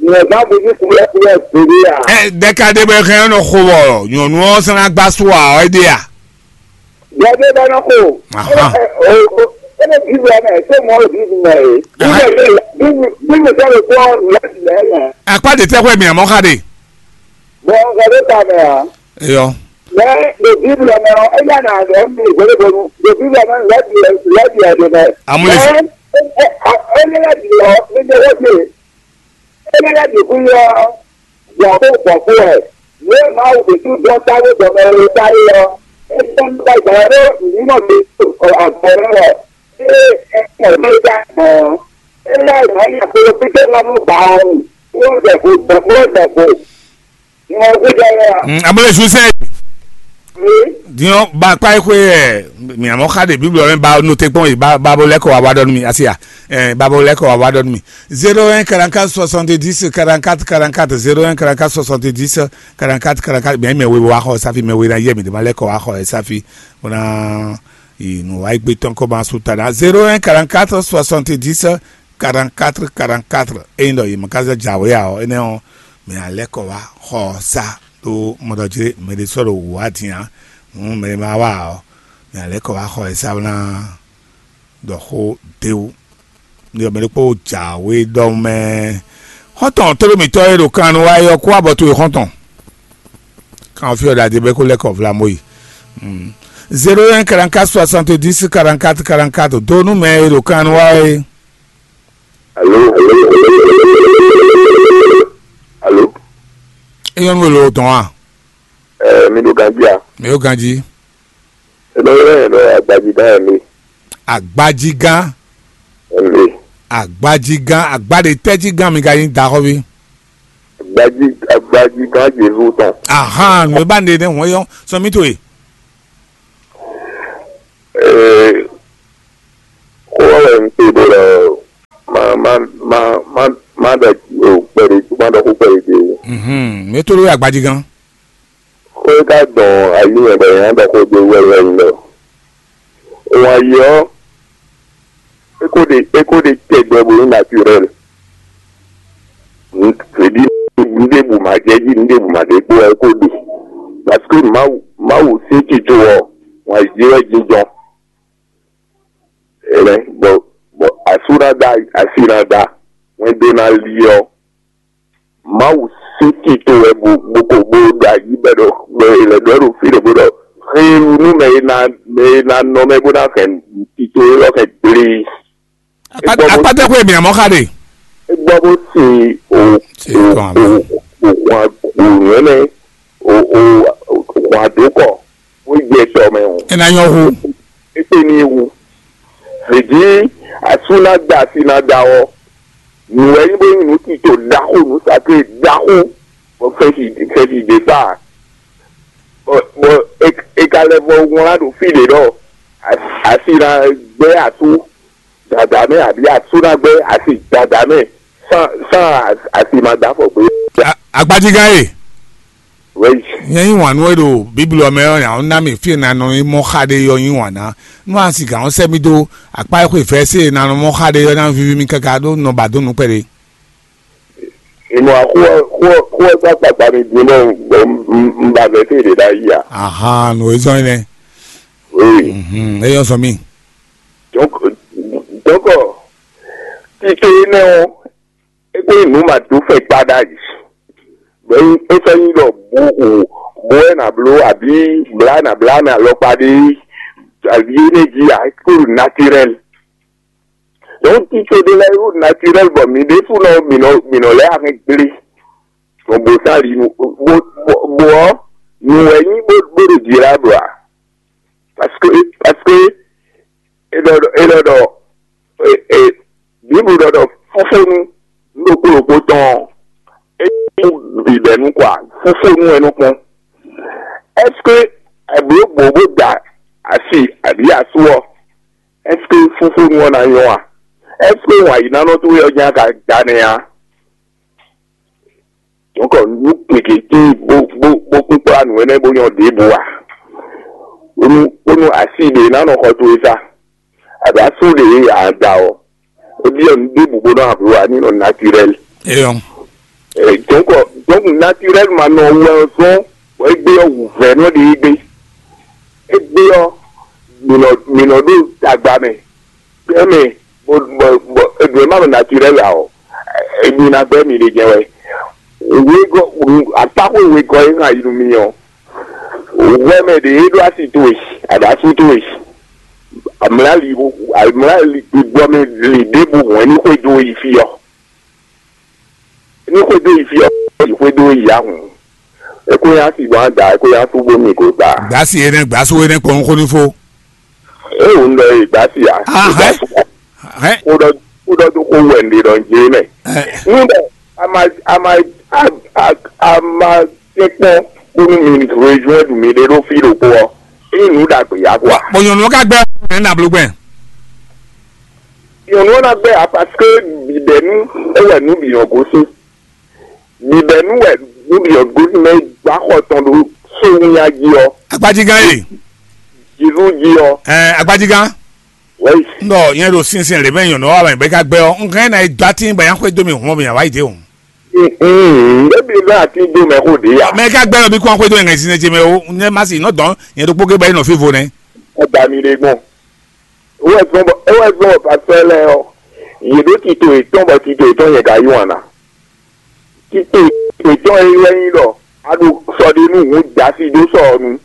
nyɛ zán mudí kúlɛ́kúlɛ́ gbeɖé ǎ. Ɛ dɛka ɖé bɛ hɛn nɔ xo wɔ nyɔ̌nu ɔ́ sán ná gbá sú ǎ ɔ́ é ɖe a? Gbɛdé bɛ nɔ xo. Aha. Ɛ ɛ o o ebe Biblia mɛ, se mɔ Biblia mɛ e. Aha. Biblia mɛ Biblia sɛ le kpɔ lɛ lɛ mɛ. Akpa de tɛ xwɛ mi amɔ xa de. Bɔn nǹkan ló ta mɛ a? Eyɔ. Mɛ le Biblia mɛ ɔ, eya na lɛ mi gbɛdé bɔnu. Le Biblia mɛ lɛ bi lɛ bi ɛdè mɛ. Amúlẹ̀. Ɛ ɛ ɛ ɛ lɛ bi ɔ, mi jẹ wọ́n ti. Énɛ́ lɛ́ɛ bǐ kún nyɔ́ ɔ́, gbɔn xó gbɔn xó wɛ. Nǔ e Mawu ɖě sú dɔn táwé gbɔn mɛ e táwé ɔ́, é tɔ́n nú gbàgbà ɖó nǔ nɔ mǐ ɖo agbo ɔ́ wɛ. Ée é kpɔ mɛ ja gbɔn ɔ́, é lɛ́ nǔ ɔ́ nyi akpolo pípé lɔ nú gbǎ ɔ́ wú, bó jɛ vo gbɔn bó jɛ vo. Nɔ xó jɛ wɛ a? Mm, amúlẹ̀ sún sẹ́yìn. Wi. Diɲɔ ba kpa yi xwe ɛ miamɔ xa de Biblia mɛ ba no te kpɔn yi ba ba bo lɛ kɔ wa wa dɔ nu mi asi ya. Ɛ ba bo lɛ kɔ wa wa dɔ nu mi. Zéro un quarante-quatre soixante-dix quarante-quatre quarante-quatre, zéro un quarante-quatre soixante-dix quarante-quatre quarante-quatre, mɛ mɛ we wa xɔ safi, mɛ we na yɛ mi de ma lɛ kɔ wa xɔ safi. Ona yi nu wa gbe tɔn kɔ ma su ta na zéro un quarante-quatre soixante-dix quarante-quatre quarante-quatre. Eyin dɔ yi ma ka zɛ jawe a ɔ enɛ ɔ mɛ alɛ kɔ wa xɔ sa. Ɖó mɔɖɔjé mɛ ɖé sɔ́ ɖo wǔ wá din ǎ. Hǔn mɛ e ma wá ǎ ɔ́, mɛ alɛ̌ kɔ wá xɔ ɛ sá ná ɖɔ xó d'é wú. Ní ɔ́, mɛ ɖokpó jǎwe ɖɔ mɛ. Xɔ́ntɔn tló mǐtɔn e ɖo kan nu wá é ɔ́, kú abɔ towe xɔ́ntɔn. Kan ɔ́ fí ɔ́ ɖo adé bɛ́ kó lɛ́ kɔ vlamó yi. Zéro un quarante-quatre soixante-dix quarante-quatre quarante-quatre dó nú mɛ e ɖo kan nu wá é. Alo, alo. Eyɔn nu lo dɔn a? Ɛɛ, mi ɖo ganjí a? Mi ɖo ganjí. Ebe yɛ yɛ ɖɔ agbajigán yɛ mi. Agbajigán. Ɛmi. Agbajigán, agba ɖe tɛ́ jí gán mi ka nyí daxɔví? agbají, agbají gán Jezu tɔn. Ahan, nǔ e ba nɖe nɛ́ hɔn yɔ sɔn mì to e. Ee, xó ɔ́ wɛ un se ɖó lɛ, ma ma ma ma ma ɖɔ kpɛɖé, ma ɖɔ xó kpɛɖé ɖé. Mhm, mɛ to ɖó agbají gán. Xó e ka dɔn ayǐ mɛ bɔ yě ná ɖɔ xó dó wɛ wɛ nyí ɖɔ wǎn yí ɔ́, é ko ɖe é ko ɖe tɛgbɛ bó nyí naturel. Nǔɖiɖi nǔɖébǔ ma jɛ jí, nǔɖébǔ ma ɖe kpó wɛ é ko ɖe. Parce que Mawu Mawu sín tito ɔ́, wǎn yí wɛ jínjɔ́n. Ɛnɛ bɔ bɔ asú ná da asi ná da wɛn dó ná li ɔ́, Mawu sín tito wɛ bo bo ko bo ɖo ayi bɛ ɖɔ bɔ è lɛ ɖɔ ɖo fí ɖě bó ɖɔ xélu nú mɛ e ná mɛ e ná nɔ mɛ bó ná hɛn tito élɔ́ hɛn gblé. Akpátɛ xwé mǐ amɔ́ xa ɖe. É gbɔ bó sin o o o o hwan o nyɔ̌nɛ o o hwan dó kɔ bó jɛ tɔ mɛ o. É ná nyɔ́ hú. É kpé ní wu. Vǐjí asú ná da asi ná da ɔ́, nǔ wɛ nyí bó nyí nǔ tito ɖaxó, nǔ sacré ɖaxó, bɔ fɛ́si fɛ́si ɖě kpa. Bɔ bɔ è ka lɛ́ vɔ wlán ɖo fí ɖě ɖɔ asi ná gbɛ́ asú dada mɛ, abǐ asú ná gbɛ́ asi dada mɛ sán sán asi ma dó afɔ gbé. Agbajigán e. Nyɛ yí wǎn nú we ɖo Bíblu ɔ́ mɛ ɔ́, nya ɔ́ ná mì fí e nanɔ e mɔ xa ɖe ɔ́ yí wǎn ná. Nú a si gǎn ɔ́ sɛ́ mì dó akpá e xwe vɛ̌ se e nanɔ mɔ xa ɖe ɔ́ ná víví mì káká ɖó nɔ ba dó nǔ kpɛɖé. Ìmọ̀ àkúwọ́ kúwọ́ kúwọ́ gbá gbàgbà mi dín bọ́ un ba vɛ̌ se ɖě ɖ'ayǐ ǎ. Ahan, nǔ e zɔ́n énɛ́. Oui. Mhm, é nyɔ́ zɔn mì. Donc, donc, tito énɛ́ ɔ́, é kó nyí nǔ ma dó fɛn kpa ɖ'ayǐ. Bɔ é sɔ́ nyí ɖɔ bo o bo wɛ nǎ bló abǐ blá nǎ blá mɛ alɔkpa ɖé abǐ énɛ́ jí ǎ, é kó ɖo naturel. Donc tito ɖé lɛ́ɛ ɖo naturel bɔ mǐ ɖésúnɔ mǐ nɔ mǐ nɔ lɛ́ ahɛn gblé. Gbɔn bo sán li nu bo bo bo ɔ́, nǔ wɛ nyí bó bó ɖo jǐ lá ɖo ǎ. Parce que parce que é ɖɔ ɖɔ é ɖɔ ɖɔ e e Bíblu ɖɔ ɖɔ fúfónu nú ɖokpó ɖokpó tɔn ɔ́, é nyí bǐbɛ́nu kɔ a? Fúfónu wɛ nɔ kpɔ́n. Est-ce que è blǒ gbǒ bó da asi abǐ asú ɔ́, est-ce que fúfónu ɔ́ ná nyɔ́ a? Est-ce que wǎn yí ná nɔ towe ɔ́ jɛ́n a ka da nɛ́ a? Donc nǔ gěgé tíin bó bó bó kún kplá nǔ énɛ́ bó nyɔ́ ɖěbǔ ǎ. Bónú bónú así ɖě ná nɔ xɔ towe sá, abǐ asú ɖě a da ɔ́, é byɔ́ nǔ ɖěbǔ bó nɔ́ abló ǎ, ní nɔ naturel. Eyɔn. Donc donc naturel ma nɔ wɛ ɔ́ zɔ́n bɔ é gbé ɔ́ wǔvɛ́ nɔ ɖe é gbé. É gbé ɔ́, mǐ nɔ mǐ nɔ ɖo tagba mɛ. Gbɛmɛ bɔ bɔ bɔ eɖu e ma ɖo naturel ǎ ɔ́, emi ná gbɛ́ mi ɖe jɛ wɛ. Wegɔ́ akpáxwé wegɔ́ e hàn yi nú mi ɔ́, hwɛ mɛ ɖě e ɖó asi towe, aɖasu towe, amlá li amlá li gbígbɔ mɛ li ɖěbǔ hɔn ní xwedó yi fí ɔ́. Ní xwedó yi fí ɔ́, yi xwedó yi ahùn. É kó nyá si gbɔn ada, é kó nyá sú bó mi gǒ ta. Gbǎsi énɛ́ gbǎsu énɛ́ kpɔ́n xó ní fó. É wǔ ń lɔ yi gbǎsi ǎ. Ah, hɛn. Hɛn. Kó ɖɔ kó ɖɔ dó xó wɛ un ɖe ɖɔ un jlé mɛ. Ɛ. Ní bɔ a ma a ma a a a ma tɛ́ kpɔ́n bónú mi région ɖu mi ɖe ɖó fí ɖokpó ɔ́, é nyí nǔ ɖagbe yá kɔ a? Bɔ nyɔ̌nu ɔ́ ka gbɛ́ ɔ́, ɛ ná bló gbɛn. Nyɔ̌nu ɔ́ ná gbɛ́ ǎ, parce que bǐbɛ́nu é wɛ nǔ bǐ nɔ gosín. Bǐbɛ́nu wɛ nǔ bǐ nɔ gosín mɛ gbá xɔ tɔn ɖó sówúnya jí ɔ́, Agbajigán e. Jezu jí ɔ́. Ɛ, agbajigán. Wɛ́yi. N ɖɔ nyɛ ɖo sinsin lě mɛ nyɔ̌nu ɔ́ wá mɛ bɔ é ka gbɛ́ ɔ́, un hɛn ná yi dó atín bɔ nyá xwedó mì hɔn mì awǎ yi dé o. Ebi bɛ ati do mɛ xo de ya. Mɛ é ka gbɛ́ nɔ bí kɔn xwedó nyɛ sinsin ce mɛ o, nyɛ má si nɔ dɔn nyɛ ɖokpó gé bɔ é nɔ fívo nɛ́. Ɔda mi ɖe gbɔn. Ewɔ gbɔn bɔ ewɔ gbɔn bɔ pastor lɛ ɔ, yě ɖo tito yětɔn bɔ tito yětɔn nyɛ ka yí wan na. Tito yětɔn e wɛ nyi ɖɔ a ɖo sɔ ɖe nú hun dasi ɖó sɔ ɔ nu.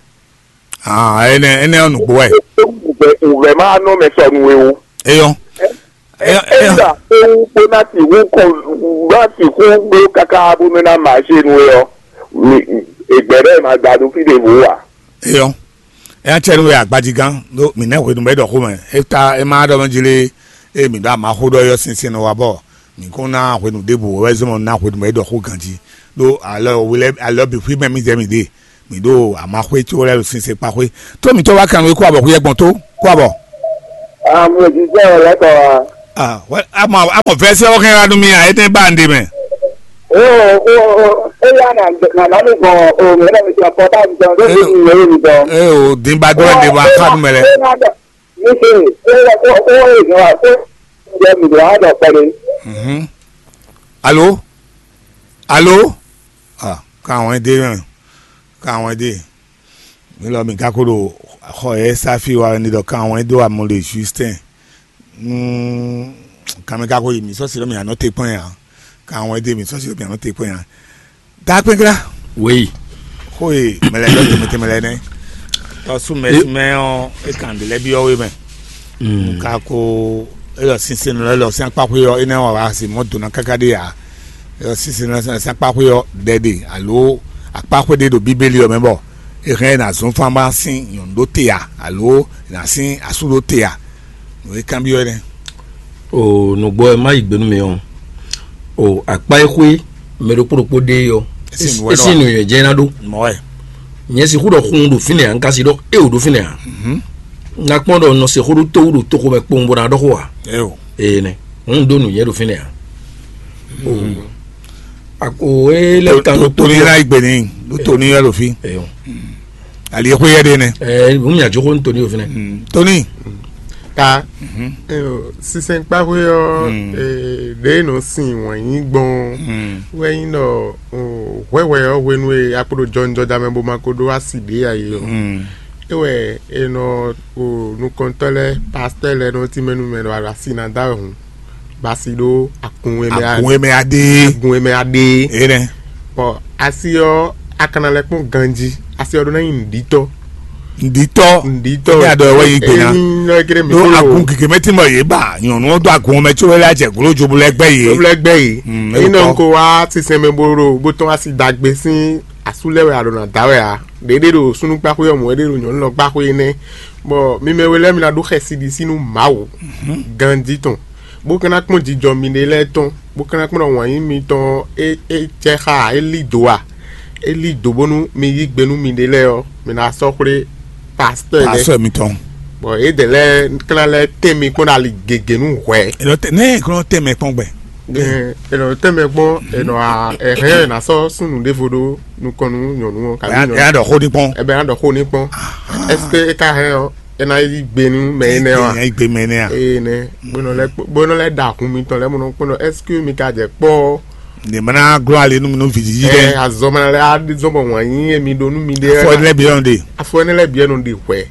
Ah, ene ene ɔ́ nǔgbó wɛ. Wùvɛ wùvɛ ma nɔ mɛ sɔ nu e o. Eyɔ. Eyɔ eyɔ. Enda ewu kpó ná ti hu kɔn ná ti hu bló kaka bó nɔ ná ma ṣe nu e ɔ. Egbɛ ɖe ma da ɖo fi ɖe vo wa. Eyɔ. Eya tsɛ nu wɛ agbajigán ɖó mǐ nɛ́ hwenu bɔ é ɖɔ xó mɛ. É ta é má ɖɔ mɛ jí lé, eye mǐ ɖo amaxó ɖɔ yɔ sinsin nɔ wa bɔ Mǐ kɔn ná hwenu ɖěbǔ wɛ zɔ́n ná hwenu bɔ é ɖɔ xó ganjí. Ɖó alɔ we lɛ́ɛ alɔ bǐ xwí mɛ mì zɛ mì ɖe. Mǐ ɖo amaxwé có lɛ́ɛ ɖo sinsɛn kpa xwé. Tó mǐtɔn wá kan nú é kó abɔ xwí ɛgbɔn tó kó abɔ. Amúlòdìsẹ́ ọ̀lẹ́kọ̀ọ́ wa. Ah, wɛ amɔ amɔ vɛsɛ wɔ hɛn wá nú mi a, é tɛ ba nɖe mɛ. Ó ó ó ó yá nà nà nà mí gbɔn o mɛ náà mi ti ọ̀pọ̀ táwọn mi gbɔn ló ti mi wéé mi gbɔn. E o din ba dɔ nɖe ba xa nú mɛ lɛ. Ó yá nà mi ṣe ó yẹ kó ó yẹ kó ó yẹ mi gbɔn á dọ̀ pẹ̀lú. Mhm. Alo? Alo? Ah, ka wɛn de mɛ. Ka wɛn de. Mi lɔ mi ka ko ɖo xɔ yɛ safi wa ni ɖɔ kan wɛn do amɔ le Justin. Hmm, kan mi ka ko yi mi sɔsi ɖɔ mi anɔ te kpɔn ya. Kan wɛn de mi sɔsi ɖɔ mi anɔ te kpɔn ya. Da kpɛnkla. Oui. Xo ye mɛlɛ ɖɔ tɛmɛ tɛmɛ lɛ nɛ. Tɔ sumɛ sumɛ ɔ e kan de lɛ bi ɔ we mɛ. Ka ko elɔ sinsɛn lɔ elɔ sian kpaxwe ɔ enɛ wa wa se mɔ dona kaka de ya. Sinsɛn ná sín akpáxwé ɔ́ ɖɛ ɖe alo akpáxwé ɖé ɖo Bíbélì ɔ́ mɛ bɔ è hɛn ɛ ná zɔ́n fán bá sín nyɔ̌nu ɖó te ǎ, alo è nǎ sín asú ɖó te ǎ? Nǔ e kanbyɔ́ é nɛ́. O nǔgbó ɛ má yi gbe nú mi ɔ́, o akpá e xwé mɛ ɖokpó ɖokpó ɖe é ɔ́, é sín nǔnywɛ́ jɛ́n ná ɖó. Mɔ̌ wɛ. Nyɛ sixú ɖɔ xun ɖo fínɛ́ ǎ, un ka si ɖɔ é wǒ ɖo fínɛ́ ǎ. Un ná kpɔ́n ɖɔ un nɔ se xó ɖó tówú ɖo toxo mɛ kpowun bó ná ɖɔ xó ǎ. Éyo. Ee nɛ, un ɖó nǔnywɛ́ ɖo fínɛ́ ǎ. O e lɛ kan ɖo Tony ná yi gbe n'i ɖó Tony wɛ ɖo fí. Eyo. Ali e xwé yɛ ɖe nɛ. Ɛ nu mia jó xó ní Tony o fínɛ. Tony. Ta. Eyo, sinsɛn kpáxwé ɔ́, ɖě nɔ sin wɛn nyí gbɔn wɛ nyí ɖɔ hwɛhwɛ ɔ́ hwenu e akpo ɖo jɔnjɔda mɛ bó ma ko ɖó asi ɖě ǎ é ɔ́, é wɛ è nɔ nukɔntɔ́ lɛ́ɛ, pastɔ́ lɛ́ɛ nɔ tínmɛ nú mɛ ɖɔ asi ná da wɛ hǔn. Basi ɖó agun e mɛ a- Agun e mɛ aɖe. Agun e mɛ aɖe. Enɛ. Bɔ asi ɔ́, a ka ná lɛ́ kpɔ́n ganjí. Asi ɔ́ ɖó ná nyí nǔɖítɔ́. Nǔɖítɔ́. Nǔɖítɔ́. Ní adɔ wɛ yi gbe ná. Eyin lɔ kéré mi Ɖó kúrò. Agun gěgé mɛ tí mɔ yě ba nyɔ̌nu ɔ́ dó agun mɛ có wɛ lé ajɛ glo jobu lɛ gbɛ yé. Jobu lɛ gbɛ yé. Mm, Eyin é nɔ wɔ. Ko wá sísɛn mɛ bó ɖo bó tɔn asi dagbe sín asú lɛ́ɛ wɛ a ɖo nǎ da wɛ ǎ. Ɖěɖé ɖo súnnu kpáxwé ɔ́ mɔ̌ é ɖé ɖo nyɔ̌nu lɔ kpáxwé énɛ́. Bɔ mi mɛ we lɛ́ɛ mi ná ɖó xɛsi ɖi sín nú Mawu ganjí tɔn. Bó ka ná kpɔ́n jijɔ miɖée lɛ́ɛ tɔn, bó ka ná kpɔ́n ɖɔ wǎn yí mitɔn é é jɛ xá ǎ, é lí dǒ ǎ, é lí dǒ bónú mi yí gbe nú miɖée lɛ́ɛ ɔ́, mi ná sɔ́ xwlé pastɔ́ lɛ́ɛ. Pastɔ́ mitɔn. Bɔ yědɛɛ lɛ́ɛ ka ná lɛ́ tɛ́n mi kpɔ́n ɖo ali gěgé nú hwɛ̌. È nɔ tɛ nɛ́ è nɔ tɛ́n mɛ kpɔ́n gbɛ. Ɛ, è nɔ tɛ́n mɛ kpɔ́n, è nɔ a- è hɛn è nǎ sɔ́ súnnu ɖěvo ɖó nukɔn nú nyɔ̌nu ɔ́, kabi Ɛ nyɔ̌nu. Ɛ ɖɔ xó ní kpɔ́n. Ɛ bɛ ná ɖɔ xó ní kpɔ́n. Est-ce que é ka hɛn ɔ́, é ná yí gbe nú mɛ énɛ́ ɔ́ a? Yí gbe mɛ énɛ́ a? Eye nɛ́, bó nɔ lɛ́ kpó- bó nɔ lɛ́ ɖa hun mitɔn lɛ́ɛ mɔ nɔ kpɔ́ nɔ, est-ce que mi ka jɛ kpɔ́? Nin mana glɔ́ ali nú mi nú vǐ jíjí Ɛ dɛ. Azɔ mana lɛ́ á zɔn bɔ wǎn yí emi ɖó nú mi ɖe. Afɔ lɛ bi ɔn de. Afɔ énɛ́ lɛ́ɛ bǐ ɔ́ nɔ ɖe hwɛ̌.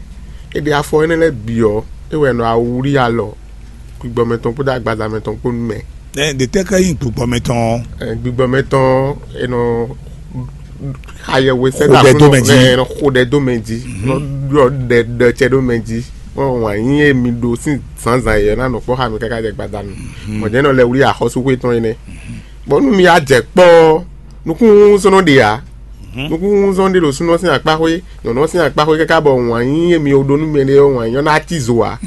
É ɖe afɔ énɛ́ lɛ́ɛ bǐ ɔ́, é wɛ nɔ awúrí alɔ gbigbɔ mɛtɔn kpódó agbaza mɛtɔn kpó nú mɛ. Ɛ de tɛ ka yin gbigbɔ mɛtɔn. Ɛ, gbigbɔ mɛtɔn, è nɔ xa yɛhwe sɛ́dá Xo ɖɛ dó mɛ jí. Ɛ, nɔ xo ɖɛ dó mɛ jí, nɔ ɖɔ ɖɛ ɖɔ cɛ ɖó mɛ jí. Mɔ wǎn yí emi ɖó sín zǎnzǎn yɛ ná nɔ kpɔ́ xa mi káká jɛ gbadanu. Mɔ̌ jẹ́ nɔ lɛ wlí axɔ́súxwé tɔn énɛ́. Bɔ nú mi á jɛ kpɔ́ ɔ́, nukúnzɔ́n nɔ ɖe ǎ. Nukúnzɔ́n ɖé ɖo súnɔ sín akpáxwé, nyɔ̌nu ɔ́ sín akpáxwé káká bɔ wǎn yí emi ɖó nú mɛ ɖé ɔ́, wǎn yí ɔ́ ná cí zo ǎ.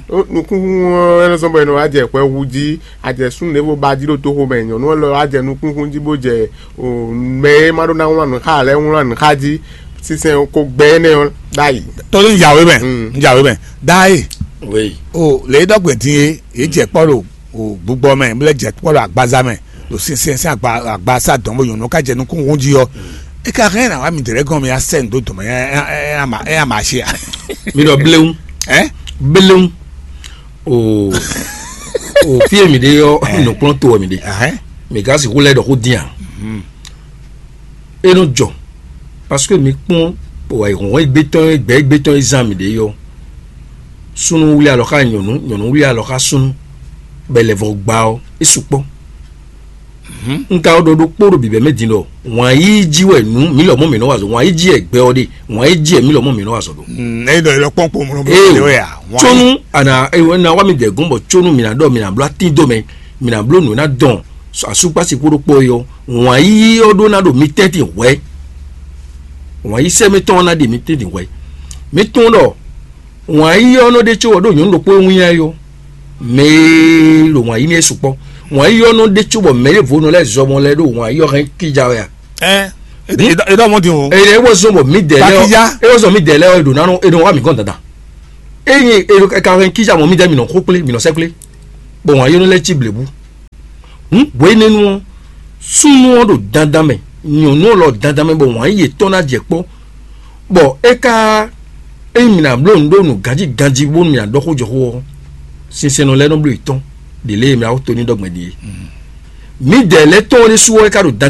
Nukúnzɔ́n ɔ́ é nɔ zɔ́n bɔ è nɔ wá jɛ hwɛ hu jí, a jɛ súnnu ɖěvo ba jí ɖo toxo mɛ, nyɔ̌nu ɔ́ lɔ wá jɛ nukúnkún jí bó jɛ o mɛ e ma ɖó ná wlán nǔ xá ǎ lɛ́ɛ wlán nǔ xá jí, sinsɛn ko gbɛ énɛ́ ɔ́ ɖ'ayǐ. Tɔ́ ní yàwé mɛ, Mm. Yàwé mɛ, dáyé. Oui. O lě dɔgbe dín é, yé jɛ kpɔ́ ɖo o gbugbɔ mɛ, bó lɛ jɛ kpɔ́ ɖo agbaza mɛ, ɖo sinsɛn sín agba agba sá dɔn bó nyɔ̌nu ká jɛ nukún hún jí ɔ́. É ka hɛn ná wá mi dɛ̌ gɔn mi asɛ ndo dɔmɛ ɛ ɛ ɛ ama ɛ ama asi a. Mi ɖɔ bléwu. Ɛ? Bléwu. O o fie mi ɖe yɔ nukplɔn to mi ɖe. Ahɛn. Mi ka si xó lɛ ɖɔ xó dín a. E nɔ jɔ parce que mi kpɔn o ayihɔnhɔn egbe tɔn gbɛ egbe tɔn e zan mi ɖe yɔ. Súnnu wlí alɔ xá nyɔ̌nu, nyɔ̌nu wlí alɔ xá súnnu, bɔ è lɛ vɔ gba ɔ́, é sukpɔ́. Un ka ɖɔ ɖokpó ɖo bǐbɛ́ mɛ din ɖɔ wǎn yíyí jí wɛ nǔ mǐ lɔmɔ̌ mǐ nɔ wa azɔ̌, wǎn yíyí jí wɛ gbɛ ɔ́ ɖe, wǎn yíyí jí wɛ mǐ lɔmɔ̌ mǐ nɔ wa azɔ̌ ɖo. Eye ɖɔ yɛ kpɔ́n kpo mlɔ Ee, mlɔ wɛ a? Wǎn yí- tsónú àná ewé ná wá mi dɛ̌ gɔ́n bɔ tsónú mǐ ná ɖɔ mǐ ná bló atín dó mɛ, mǐ ná bló nǔ ná dɔn asúkpási kpó ɖokpó é ɔ́, wǎn yíyí ɔ́ ɖó ná ɖo mi tɛ́ntin hwɛ̌. Wǎn yí sɛ́ mɛtɔn ɔ́ ná ɖe mi tɛ́ntin hwɛ̌. Mi tunwun ɖɔ wǎn yíyí ɔ́ nɔ ɖe có ɔ́ ɖo nyɔ̌nu ɖokpó e wín ɛ yó. Mɛ e ɖo wǎn yí n'i é sukpɔ́. Wǎn yí ɔ́ nɔ ɖe cóbɔ mɛ ɖěvo nɔ lɛ́ zɔ mɔ lɛ́ ɖo wǎn yí ɔ́ hɛn kíja wɛ a? Ɛ, e dɔ mɔ din o. Eye é wɔ zɔn bɔ mǐdɛɛ lɛ́ɛ Takija. Ɔ́ é wɔ zɔn mǐdɛɛ lɛ́ɛ ɔ́ ɖo nánú é nɔ wá mǐ gɔn dandan. Eye é ka hɛn kíja mɔ mǐdɛɛ mǐ nɔ xó kplé mǐ nɔ sɛ́ kplé, bɔ wǎn yí nɔ lɛ́ cí blebu. Hǔn hwenɛ́nu ɔ́, súnnu ɔ́ ɖo dandan mɛ, nyɔ̌nu ɔ́ lɔ dandan mɛ, bɔ wǎn yí yětɔn ná jɛ kpɔ́, bɔ é ka ényí mǐ ná bló nǔ ɖó nǔ ganjí ganjí bónú mǐ ná ɖɔ xó jɔ xó ɔ́, sinsɛnnɔ lɛ́ɛ nɔ bló yětɔn ɖě lée e mǐ ná xó to ní ɖɔ gbɛn ɖíe. Mǐdɛɛ lɛ́ɛ tɔn ɔ́ ɖésú ɔ́ é ka ɖo dandan